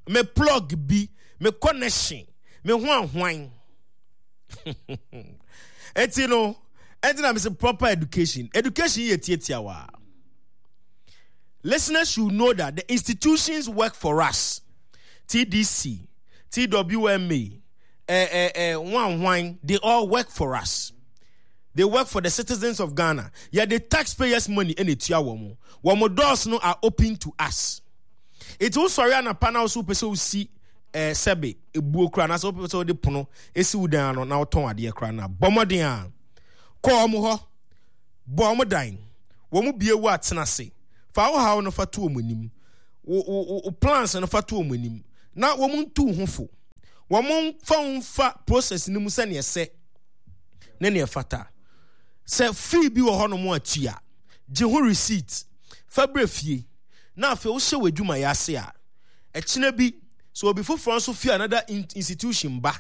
Me plug bi, me connection, me ho ahwan. Eti no, eti na me se proper education. Education yɛ tietia wa. Listeners should know that the institutions work for us. TDC, TWMA, hwan hwan, they all work for us. They work for the citizens of Ghana. Yɛde taxpayers money ɛna etua wɔn. Wɔn doors no are open to us. Eti wosɔre anapa na wosɛ wopɛ sɛ wosi eh, sɛbe ebuo koraa anaasɛ wopɛ sɛ wode pono esi wo dan ano na wotɔn adeɛ koraa na bɔ mmɔden a kɔ wɔn hɔ bɔ wɔn dan wɔn bie wo a tena ase fa wo haw no fa to wɔn anim wo wo wo plans no fa to wɔn anim na wɔn ntu ho fo wɔn mfa wo mfa process no mu sɛnea ɛsɛ ne nea ɛfata. Sɛ fee bi wɔ hɔnom a tua, gye ho receipt, fa brɛ fie, na afei wohyɛ w'adwumayɛ ase a, ɛkyena bi sɛ obi foforɔ nso fi another institution ba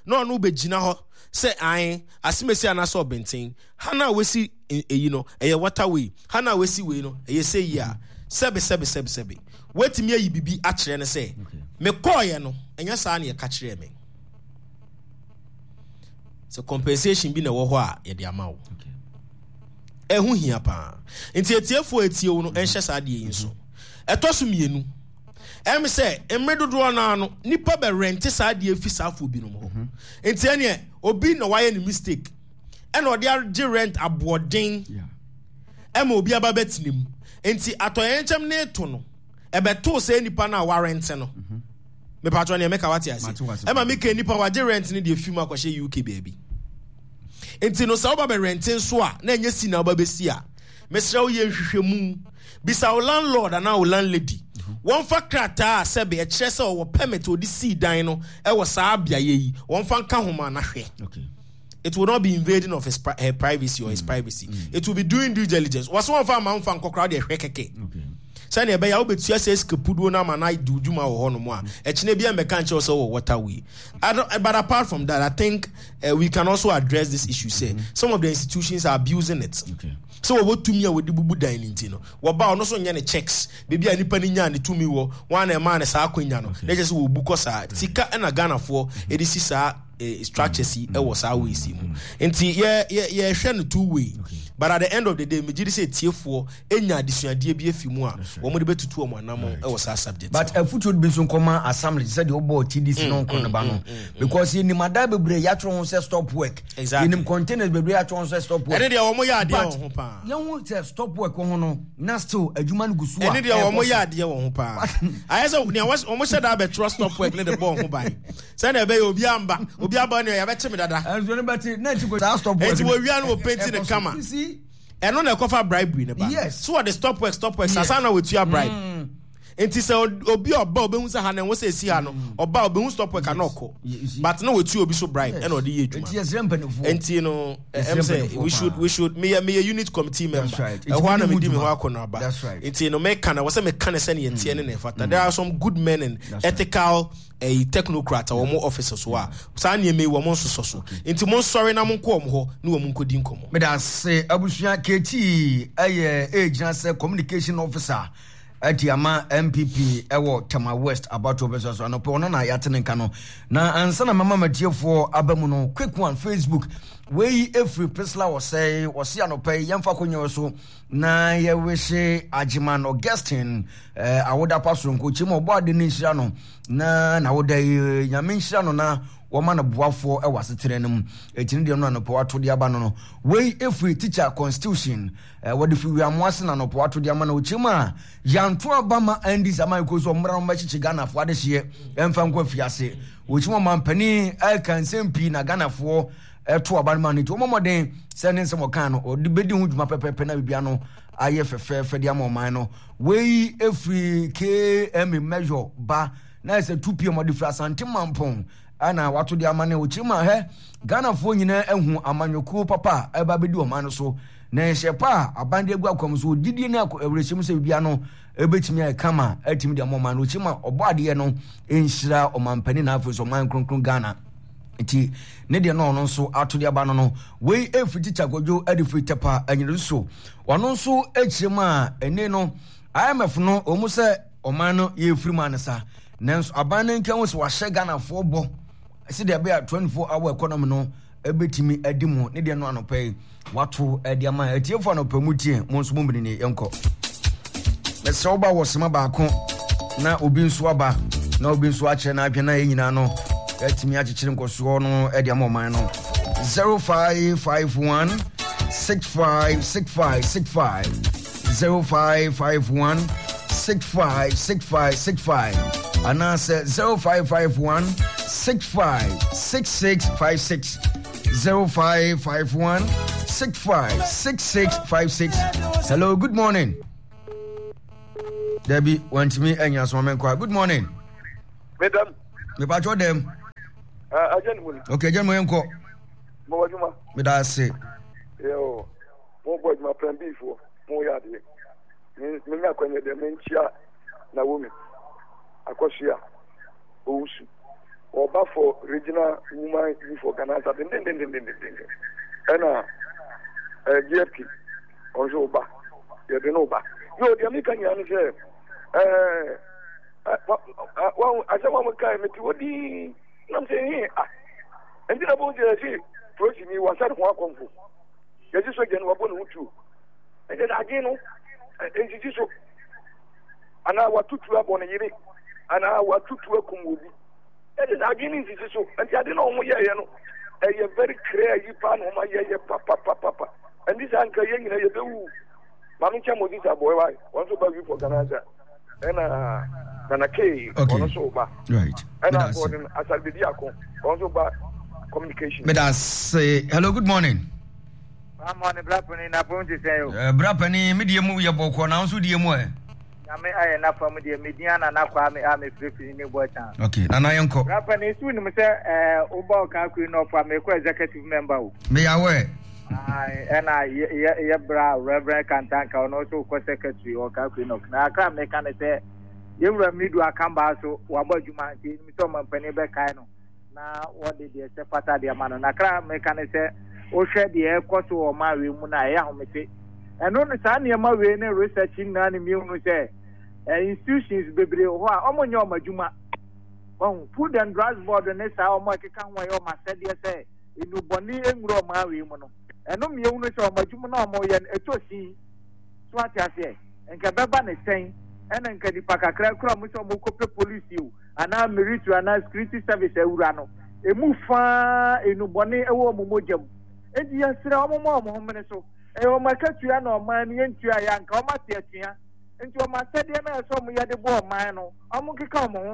na ɔno bɛgyina hɔ sɛ ae asemesi anaasɛ ɔbɛnten ha no a wasi eyi no ɛyɛ waterway ha no a wasi wei no ɛyɛ sɛ yi a sɛbe sɛbe sɛbe sɛbe woatumi ayi biribi akyerɛ no sɛ mekɔɔyɛ no ɛnyɛ saa na yɛka kyerɛɛ me. Sɛ compensation bi na ɛwɔ hɔ a yɛde ama wo. Ɛho hia paa. Nti atiefoɔ a ɛtie wo no ɛnhyɛ saa adeɛ yi nso. Ɛtɔ so mmienu, ɛm sɛ mmere dodoɔ no ara no nipa bɛ rɛnte saa adeɛ fi saa afoɔ binom hɔ. Mhm. Nti ɛneɛ obi na wayɛ ne mistake ɛna ɔde agye rent aboɔden ɛma obi aba bɛtena mu. Nti atɔyɛnkyɛm ne to no ɛbɛtoo saa nipa no a warɛnte no. Mhm. Mepatwɔ nea meka wate ase. Ɛma meka nipa wagye rent no deɛ fi mu akɔhyɛ UK baabi. Nti no sɛ woba bɛ rente nso a na ɛnyɛ si na woba bɛsi a mesrɛ wo yɛ nhwehwɛmu. Bisa wo landlord anaa wo landlady. Wɔmfa krataa a sɛbe ɛkyerɛ sɛ ɔwɔ permit ɔde sii dan no ɛwɔ saa beaeɛ yi wɔmfa nka ho ma na hwɛ. Okay. It will not be invading of his her privacy or his privacy. It will be doing due diligence. Wɔsɛ wɔmfa ama mfa nkɔkora deɛ hwɛ kɛkɛ. Okay. Sɛnea ɛbɛyɛ a wobɛtua sɛ sika puduo no ama no adi wo dwuma wɔ hɔnom a, ɛkyena bi ɛmmɛka nkyerɛ wo sɛ wɔ waterway. But apart from that, I think uh, we can also address this issue sɛ mm-hmm. some of the institutions are abusing it. Okay. Sɛ wɔwɔ tumi a wɔde bubu dan no nti no, wɔba ɔno so nyɛ ne checks. Baabi a nipa no nyaa ne tumi wɔ, wɔn a na ɛmaa ne saa akwanya no, na ɛkyɛ sɛ wɔbu kɔ saa. Sika ɛna Ghanafoɔ ɛde si saa eh, structures yi ɛwɔ saa ways yi mu. Nti yɛ yɛ yɛhwɛ no two way. But at the end of the day, megye di sɛ tiefoɔ anya adesuadeɛ bi afi mu a wɔn de bɛtutu wɔn anamɔn wɔ saa subject But afutuo bi nso nkɔma assembly te sɛ deɛ wobɔɔ TDC no nkɔ no ba no because yɛnim adan bebree yɛatwerɛ ho sɛ stop work yɛnim containers bebree yɛatwerɛ ho sɛ stop work ɛne deɛ wɔn yɛ adeɛ wɔ ho paa yɛhu sɛ stop work wɔ ho no na still adwuma no gu so a ɛne deɛ wɔn yɛ adeɛ wɔ ho paa ayɛ sɛ nea wɔn hyɛ da abɛtwerɛ stop work ne de bɔɔ ho ban sɛnea ɛbɛyɛ obi amba obi aba nea yɛbɛkye me dada ɛnso ne bɛte na akyi kɔ saa stop work eti wɔwia no wɔ painting ne kama ɛno na ɛkɔfa bribery no ba so wɔde stop work stop work sasa na wɔtua bribe mm. nti sɛ obi ɔba obehu sɛ ha na ɛwɔ sɛ esi ha no mm. ɔba obehu stop work ana ɔkɔ but na wɔtua obi so bribe ɛna ɔde yɛ adwuma nti no ɛm sɛ we should we should meyɛ meyɛ unit committee member ɛhɔ ana medi me ho akɔ no aba nti no meka na wɔ sɛ meka ne sɛ ne yɛteɛ ne na ɛfata there are some good men and ethical ɛyi technocrat a wɔn offices hɔ a saa nneɛma yi wɔn nsosɔ so nti mo nsɔre na mo nkɔ wɔn hɔ ne wɔn nkɔdi nkɔmɔ. Medase abusua KT ɛyɛ ɛgyina sɛ communication officer ɛde ama NPP ɛwɔ Tema West abatoɔ bɛsɛ so anɔpɛ ɔno na yɛate ne nka no na ansa na mama matiefoɔ aba mu no quick one Facebook wei ɛfiri Priscilla ɔsɛe ɔse anɔpɛ yi yɛmfa kɔnyɛ so na yɛwehye Agyeman Augustine eh, awoda pa soronko kyɛ mu ɔbɔ ade no nhyira no na n'awoda yi nyame nhyira no na wɔma no boafoɔ wɔ asetena no mu ɛti no deɛ no anɔpɛ wato de aba no no wei ɛfiri teacher constitution eh, wɔde firi wiamoa ase na anɔpɛ wato de ama no ɔkyɛ mu a yɛanto aba ma ndc ama ɛkɔ so ɔmmra no bɛkyekye ghanafoɔ adehyeɛ ɛmfa nkɔ afiase wɔkyɛ mu ɔmampanin ɛka nsɛm pii na ghanafoɔ ɛto aba no ma no nti wɔmmɔ mmɔden sɛ ne nsɛm ɔkaa no ɔde bɛdi ho dwuma pɛpɛpɛ na biribia no ayɛ fɛfɛɛfɛ de ama ɔman no. Wei firi KMA Measure ba na ɛsɛ 2 pm ɔde firi Asante Mampɔn ɛna wato de ama ne ɔkyerɛ mu a hɛ Ghanafoɔ nyinaa ahu amanyɔkuo papa a ɛba bɛdi ɔman no so na nhyɛ pa a aban de agu akwam so ɔgyidie ne awerɛhyɛmu sɛ biribiara no ɛbɛtumi ayɛ kama atumi de ama ɔman no ɔkyerɛ mu a ɔbɔ adeɛ no nhyira ɔmampanin na afei nso ɔman kronkron Ghana. nti ne deɛ no ɔno nso ato de aba no no wei ɛfiri tikya kwadwo de firi tɛpa anyere so ɔno nso akyerɛ mu a ɛne no imf no wɔn sɛ ɔman no yɛfiri mu anesa nanso aban no nka ho sɛ wahyɛ ghanafoɔ bɔ sɛdeɛ ɛbɛyɛ a 24 hour economy no ɛbɛtumi adi mu ne deɛ no anɔpa yi wato ɛde ama atiefo anɔpa mu tie mo nso mo mene yɛnkɔ mesrɛ woba wɔ sema baako na obi nso aba. Na obi nso akyerɛ n'adwene na yɛn nyinaa no yɛatumi akyekyere nkɔsoɔ no de ama ɔman no. 0551 6565 65 0551 656565 anaasɛ 0551 656656 0551 656656. Hello, good morning. Debbie, wantumi anya so menkɔ. Good morning. Medam. Mepatwɔ dɛm. Agya ne mu ni. Okay, agya ne mu yɛnkɔ. Mo wɔ adwuma. Meda ase. Yo, mo bɔ adwuma plan B foɔ, mo yɛ adeɛ. Menya akwanya deɛ menkyia Naomi Akɔsoa Owusu. Ɔba for regional woman youth organizer dendendendendenden. Ɛna eh, GFP ɔno nso ɔba. Yɛde no ba. Yo, deɛ meka nyinaa ne sɛ eh, asɛm a mokae mete hɔ din nam sɛ he ah Enti na bohu sɛ yɛse polisini wasa ne ho akɔmfo, yɛse sogya ni wabɔ ne ho tuo. Ɛnkyɛ sɛ adwene no nsisi so, anaa wato tuo abɔ ne yere, anaa wato tuo akum obi. Ɛnkyɛ sɛ adwene no nsisi so. Nti ade na wɔn yɛɛyɛ no, ɛyɛ very clear yi paa na wɔn ayɛyɛ papapapapa. Ɛnti saa nka yɛn nyinaa yɛbɛwu. Maame nkyɛn Moses Aboɛ wae, wɔn nso ba wi for Ghana sɛ. ɛna nana kee ɔno nso ba ɛna gordon asarbedi ako ɔno nso ba communication. meda se hello good morning. Good morning bra panin na pɔn ti sɛn o. Eh, bra panin mi deɛ mu yɛ bɔkɔ na nso deɛ mu ɛ. Nyame ayɛ n'afa mu deɛ me din Nana Kwame a mefirifiri ne Boachan. Okay, Nana yɛnkɔ. Bra panin so wonim sɛ eh, wobɔ ɔka akuri nɔfo a mekɔ executive member o. Meyɛ aware. Ɛna yɛ bra Reverend Kantanka ɔno nso kɔ secretary wɔ Kakuri Nok. Na akra meka ne sɛ yɛwura Midu Akambaa so wabɔ adwuma nti ɛnim sɛ ɔmampanin bɛkae no na wɔde deɛ ɛsɛ fata deɛ ma no. Na akra meka ne sɛ wohwɛ deɛ ɛkɔ so wɔ ɔman wei mu no a ɛyɛ ahomete. Ɛno no saa nneɛma wei ne research nyinaa ne mmienu sɛ institutions bebree wɔ hɔ a wɔnyɛ wɔn adwuma. Wɔn Food and Drugs Board ne saa wɔn a ɛkeka ho a ɛyɛ wɔn asɛdeɛ sɛ nnubɔne nwura ɔman wei mu no, ɛno ma yɛhunu sɛ wɔn adwuma no a wɔyɛ no, ɛtɔ sin. So ate aseɛ? Nka ɛbɛba ne sɛn ɛna nka nipa kakra kura wɔn sɛ wɔkɔpɛ polisi o, anaa military anaa security service awura no, emu faa nnubɔne wɔ wɔn mogya mu. Enti yɛsrɛ wɔn ma wɔn homene so. Ɛyɛ wɔn akatua na ɔman no yɛntua yɛ anka wɔn ate atua. Nti wɔn asɛdeɛ no a ɛsɛ wɔn yɛ de bɔ ɔman no, wɔn nkeka wɔn ho.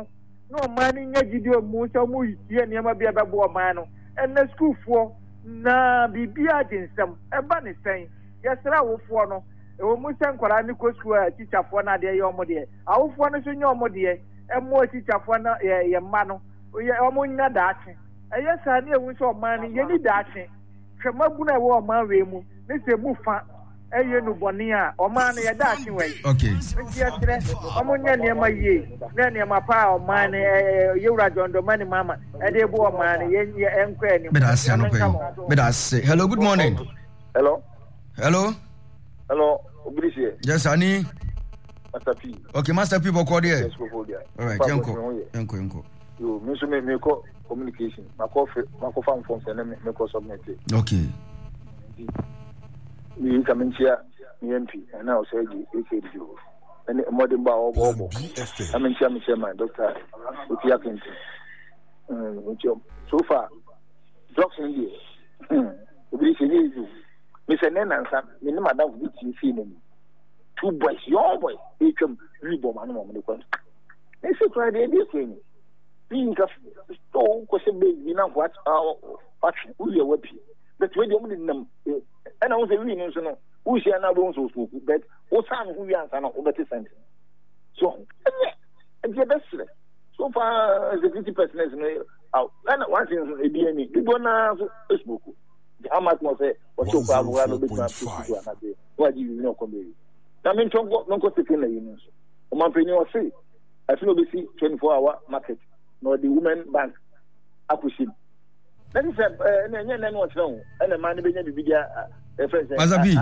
na ɔman no nya gyidie mu sɛ wɔretie nneɛma bi a ɛbɛboa ɔman no. Ɛnnɛ sukuufoɔ na biribiara gye nsam. Ɛba ne sɛn? Yɛsrɛ awofoɔ no, ɛwɔ mu sɛ nkwadaa no kɔ sukuu a tikyafoɔ no adeɛ yɛ wɔn deɛ, awofoɔ no nso nyɛ wɔn deɛ mmoa tikyafoɔ no yɛ yɛn mma no yɛ wɔn nya daakye. Ɛyɛ saa ne ɛhu sɛ ɔman no yɛni daakye. Hwɛ mmabunu a ɛwɔ ɔman wei mu ne sɛ emu fa ɛyɛ nnubɔne a, ɔman no yɛ daakye wɔ yi. Okay. Nti yɛsrɛ wɔn nyɛ nneɛma yie na nneɛma pa a ɔman no yɛwura John Dramani Mahama ɛde bo ɔman no yɛ yɛ ɛnkɔ anim. Meda ase anɔpa yi. Meda ase. Hello, good morning. Hello. Hello. Hello, Obirisie. Yes, Ani. Master P. Okay, Master P bɔkɔ deɛ. Yes, bɔkɔ deɛ. All right, yɛnkɔ. Yɛnkɔ, yɛnkɔ. Yo, me nso me mekɔ communication. Makɔ fe makɔ fa forms ɛne me mekɔ submit. Okay. Nti me ka me nkyia me MP ɛna ɔsɛ gye AKD o. Ɛne mmɔden bɔ a ɔbɔ ɔbɔ. Na me nkyia me chairman Dr. Oti Akente. Mm, nkyia so far drugs no deɛ. Hmm, obi sɛ nyɛ easy. Me sɛ ne nansa me ne madam bi tie fie n'anim. Two boys, young boys, etwam wi bɔ ma no ma wɔde kɔ. Ne se kura deɛ ebi kura ni. Bi nka so kɔhyɛ base bi na nko atwe wowie wapie. But wei deɛ wɔn de nam ɛna wɔn sɛ wii no nso no wohyia na wobɛhu sɛ ɔsmoku but wosan ne ho wie ansa na wobɛte sɛnte so ɛnyɛ nti ɛbɛserɛ so far security personnel no ɛna wansi nso ebi ani dodoɔ naa nso smoku nti how much more sɛ wɔte okɔ aboa no obɛtumi ato suku anase na wagye biribi na ɔkɔ baabi na mentɔ nkɔ menkɔ second na yi no nso ɔmanpanyin ɔse ɛso na obɛsi 24 hour market na ɔde women bank akɔhyɛ mu na te sɛ ɛna ɛnyɛ nnɛ no ɔkyerɛ ho ɛna mmaa no bɛnya biribi de ɛfrɛ sɛ Masabi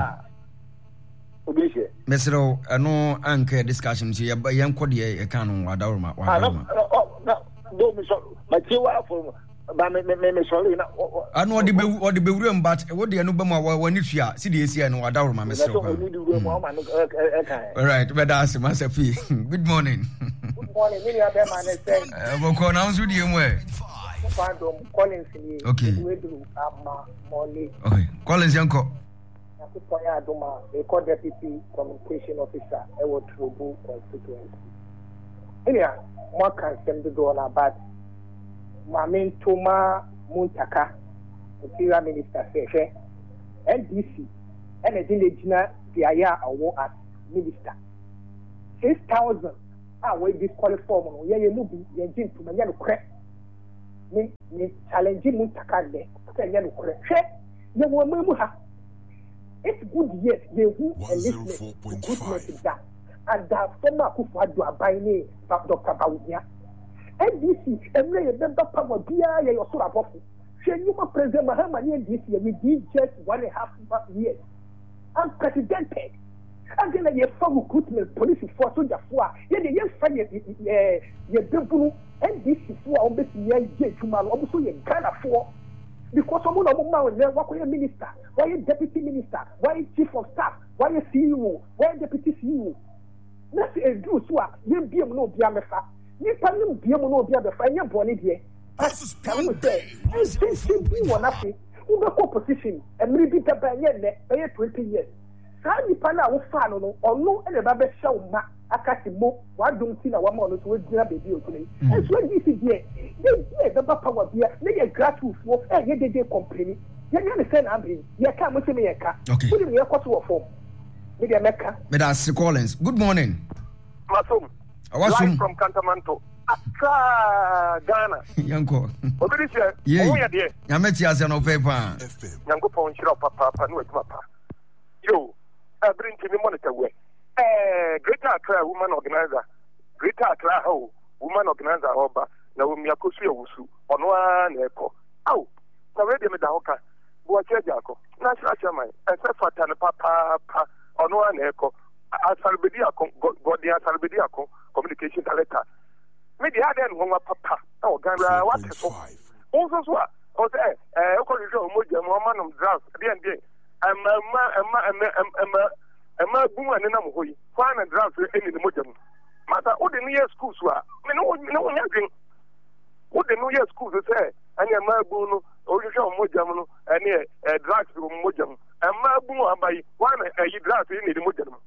obi hyɛ mesrɛ wo ɛno anka yɛ discussion nti yɛnkɔ deɛ yɛka no wadaworoma wadaworoma na do mi sɔ matie wa afɔ. Ba me me me sɔre na. Ano ɔde bɛ ɔde bɛ wura mu but wo deɛ no bɛ mu a wɔ ne tua si deɛ esi ɛno wadaworo ma mesrɛ pa. Alright bɛda ase masa fie good morning. Good morning mi nua bɛɛ ma ne sɛ. Bɔkɔ na nso deɛ mu ɛ. Collins ni. Okay. Okay Collins yɛn kɔ. Nyankopɔn yɛ adom a, mekɔ Deputy Communication Officer wɔ Trobu constituency. Me nua, moaka nsɛm dodoɔ no a but ma mento ma Muntaka, Interior Minister sɛ hwɛ, NDC ɛna ɛde no agyina beaeɛ a ɔwɔ as Minister. 6,000 a wɔ disqualify wɔn no, yɛn yɛn mu bi yɛngye ntom, ɛnyɛ nokorɛ. Me, me challenge Muntaka nnɛ sɛ ɛnyɛ nokorɛ. Hwɛ! Yɛwɔ ɔman mu ha. It's good years yɛnhu enlistment, recruitment da. Under former Akufo Addo aban ne Doctor Bawumia. NDC mmerɛ yɛbɛba power biara yɛyɛ ɔsoro abɔfo. Hwɛ nnwuma President Mahama ne NDC yɛ within just one and half years. Unprecedented. Adɛn na yɛfa recruitment polisifoɔ asogyafoɔ a yɛdeɛ yɛmfa yɛ yɛ yɛbɛbunu NDC foɔ a wɔbɛtumi ayɛ adwuma no wɔn nso yɛ Ghanafoɔ. Because ɔmo na ɔmo ma wo nnɛ wakɔyɛ minister, wayɛ deputy minister, wayɛ chief of staff, wayɛ CEO, wayɛ deputy CEO. Na sɛ eduru so a yɛn bie mu na obiara mmɛfa. Nipa no bie mu na obiara bɛfa ɛnyɛ bɔne deɛ. But ka hu sɛ nsɛnsɛm bi wɔ n'ase. Wobɛkɔ opposition mmere bi bɛba ɛnyɛ nnɛ, bɛyɛ 20 years. Saa nipa no a wofaa no no ɔno na ɛba bɛhyɛ wo ma aka se mo. W'adom nti na wama ɔno nso wagyina baabi a ogyina yi. Nso NDC deɛ, da bi a yɛbɛba power bia na yɛ grassroots foɔ ɛyɛ dede complaini. Yɛnyɛ no sɛn na abere yi? Yɛka a mose me yɛnka. Wonim nea ɛkɔ so wɔ fam? Me deɛ mɛka. Meda ase Collins. Good morning. Masom. Awasom. Live from Kantamanto. Accra, Ghana. Yɛnkɔ. Obi de hyɛ. Yei. Ɔho yɛ deɛ. Nyame te ase no pɛ paa. Nyankopɔn nhyira wo papaapa ne w'adwuma pa. Yo, ɛbere nti me monitor wɛ. Eh, Greater Accra woman organizer, Greater Accra ha o, woman organizer ɔba na omi akosu awusu, ɔno ara na ɛkɔ. Ao, na wei deɛ meda hɔ ka, Boakye Agyarko, National Chairman, ɛsɛ fata no papaapa, ɔno ara na ɛkɔ. Asarbedi Ako, Gordon Asarbedi Ako, Communication Director. Me deɛ adɛn ne nwanwa papa ɛwɔ Ghana, wate so. Wo nso so a, ɔsɛ ɛɛ, wokɔhwehwɛ wɔn mogya mu, wɔma nom drugs, deɛn deɛn, ɛma ɛma ɛma ɛma ɛma Mmaabun a nenam hɔ yi, hwan na drugs nni ne mogya mu? Masa, wode no yɛ sukuu so a, me ne wo me ne wo nyɛ adwen. Wode no yɛ sukuu so sɛ ɛne mmaabun no, wohwehwɛ wɔn mogya mu no, ɛne ɛ drugs wɔ wɔn mogya mu. Mmaabun a aba yi, hwan na ɛyi drugs nni ne mogya no mu?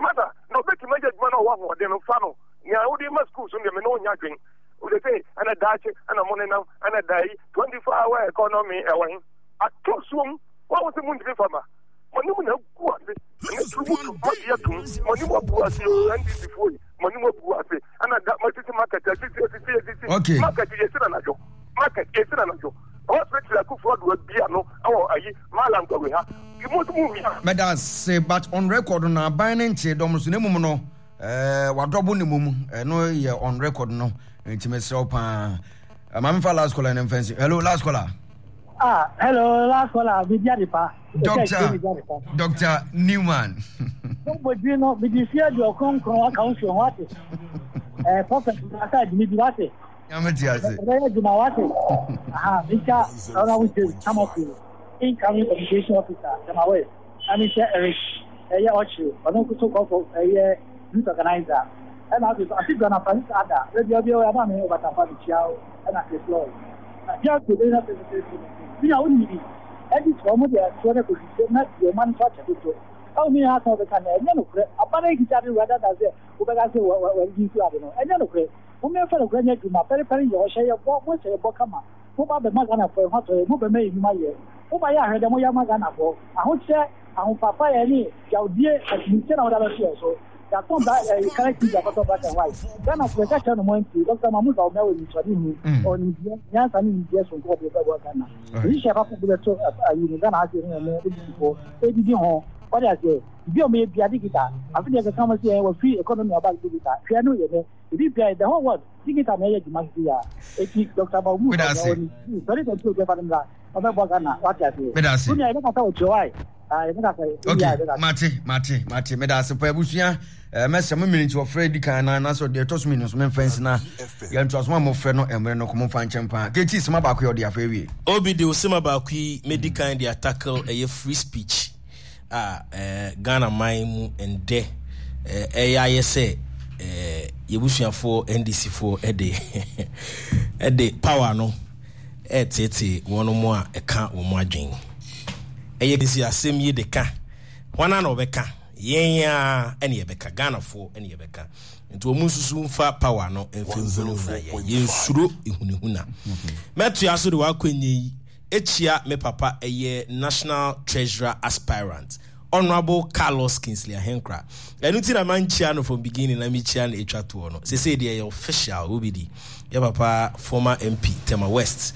Masa, na obetumi ayɛ adwuma na ɔwɔ ahoɔden no, fa no. Nea wode ma sukuu so no deɛ, me ne wo nyɛ adwen. Wode sɛ ɛna daakye ɛna mo nenam ɛna da yi 24 hour economy ɛwɔ he? Ato suom, wɔn sɛ muntumi fa ma. Mo anim na agu ase. Ɛne turubutu mo agye atum. Mo anim agu ase o NDC foɔ yi. Mo anim agu ase. Ɛna da mo asisi market asisi asisi asisi. Okay. Market yɛsi na anadwo. Market yɛsi na anadwo. Hospital akufo ado abia no ɛwɔ ayi Malam Gwawe ha. Mo nso mo wia. Mɛda ase but on record no aban no nkyee dɔm no so na mmom no eh, wadɔbo ne mom ɛno yɛ on record no nti mesrɛ wo paa. Maame fa last caller no mfa nsi. Hello last caller. Ah, hello, last caller, Bidi Adepa. Doctor, Doctor Newman. Mo di no, bidi si adi okronkron aka wo ho ate. Eh, prophet, asa adwuma bi wate. Nyame te ase. Ɛbɛyɛ adwuma wate. Aha, mekyia Honorable James Tamaklo, incoming communication officer, Tema West. Na mekyia Eric, ɛyɛ Ɔkyere, ɔno nso so kɔfo, ɛyɛ youth organizer. Ɛna afei so, Ase Guana Francis Ada, baabi a obiara wɔ, ama me Obatampa mekyia wo, ɛna Chris Lloyd. Yɛatɔn bla ɛɛ colour TV akɔtɔ black and white. Ghana fo yɛka kyerɛ no mo antie. Doctor Mahmood Bawumia wɔ anisoadehunu, ɔwɔ nimdeɛ, nyansa ne nimdeɛ soronko ɔde bɛboa Ghana. Nhyehyɛe papa bi bɛto ayi no Ghana ha sei ne ɔmo ADC foɔ ɛdidi ho. Wate aseɛ? Biribi a ɔmo yɛ biara digital. Afe deɛ keka ɔmo se ɛɛ wɔfiri economy aba digital. Hwɛ ɛno yɛ nɛ. Biribi biara the whole world digital na ɛyɛ adwuma sisi yi ara. Eti Doctor Mahmood Meda Bawumia ase. ɔwɔ ne 2022 yɛmfa no mmra ɔbɛboa Ghana. Wate aseɛ? Meda ase. Wo nua yɛbɛkasa wɔ kyerɛ why. Ok, mate, mate, mate. Meda ase pa abusua. Eh, mɛsɛ mo mmienu nti wɔfrɛ di kan na anaasɛ ɔde ɛtɔ so mmienu nso memfa nsi na yɛntoa so ma mofrɛ no mmerɛ no kɔ momfa nkyɛn paa. Keti sema baako yɛ ɔde afa awie. Obi de osema baako yi medi kan de atackle ɛyɛ free speech a eh, Ghana man mu ndɛ eh, ɛyɛ ayɛ sɛ eh, yɛbusuafoɔ NDC foɔ ɛde ɛde power no reteetee wɔnom a ɛka wɔn adwen. Ɛyɛ si asɛm yi de ka, hwan na ɔbɛka? Yɛn ara ɛne yɛbɛka, Ghanafoɔ ɛne yɛbɛka. Nti wɔn nsusu mfa power no mfa nhunahuna yɛn. Yɛnsuro ehunahuna. Mɛtoa so de w'akwannya yi akyia me papa ɛyɛ National Treasurer aspirant Honourable Carlos Kingsley Ahenkra. Ɛno nti na mankyia no from beginning na mekyia no ɛtwa toɔ no. Sesei deɛ ɛyɛ official, wobɛdi. Yɛ papa former MP Tema West.